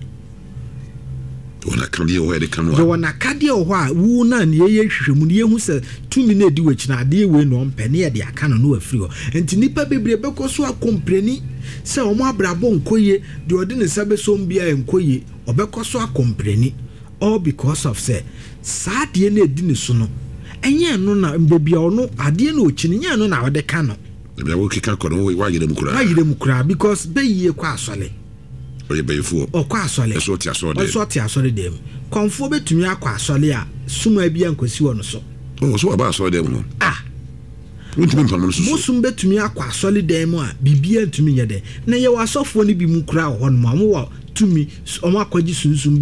Yɛwɔ n'akadeɛ wɔ hɔ a yɛde ka no a. Yɛwɔ n'akadeɛ wɔ hɔ a wo na ne yɛyɛ nhwehwɛmu no yɛhu sɛ tumi no a ɛdi w'akyi no adeɛ wei na ɔmpɛ ne yɛde aka no na wafiri hɔ. Nti nnipa bebree bɛkɔ so akɔmpleni sɛ wɔn abrabɔ nkɔ yie, deɛ ɔde ne nsa bɛsɔ mu biara ɛnkɔ yie. Ɔbɛkɔ so akɔmpleni all because of sɛ saa adeɛ no a ɛdi ne so no ɛnyɛ ɛno na baabi a ɔno adeɛ no a ɔkyi no nyɛ ɛno na ɔde ka no. Baabi a wokeka kɔ no woayera mu koraa. Woayera mu koraa because bɛyie kɔ asɔre. Ɔyɛ bayifoɔ. Ɔkɔ asɔre. Ɛso ɔte asɔre dɛm. Ɛso ɔte asɔre dɛm. Kɔmfoɔ bɛtumi akɔ asɔre a suma bi ankɔsi wɔ no so. Oh, so waba asɔre dɛm hɔ. Ah. Wontumi mpam no soso. Bosom bɛtumi akɔ asɔre dan mu a biribiara ntumi nyɛ dɛn. Na yɛwɔ asɔfoɔ no bi mu koraa wɔ hɔnom a wɔwɔ tumi, wɔn akɔgye sunsum.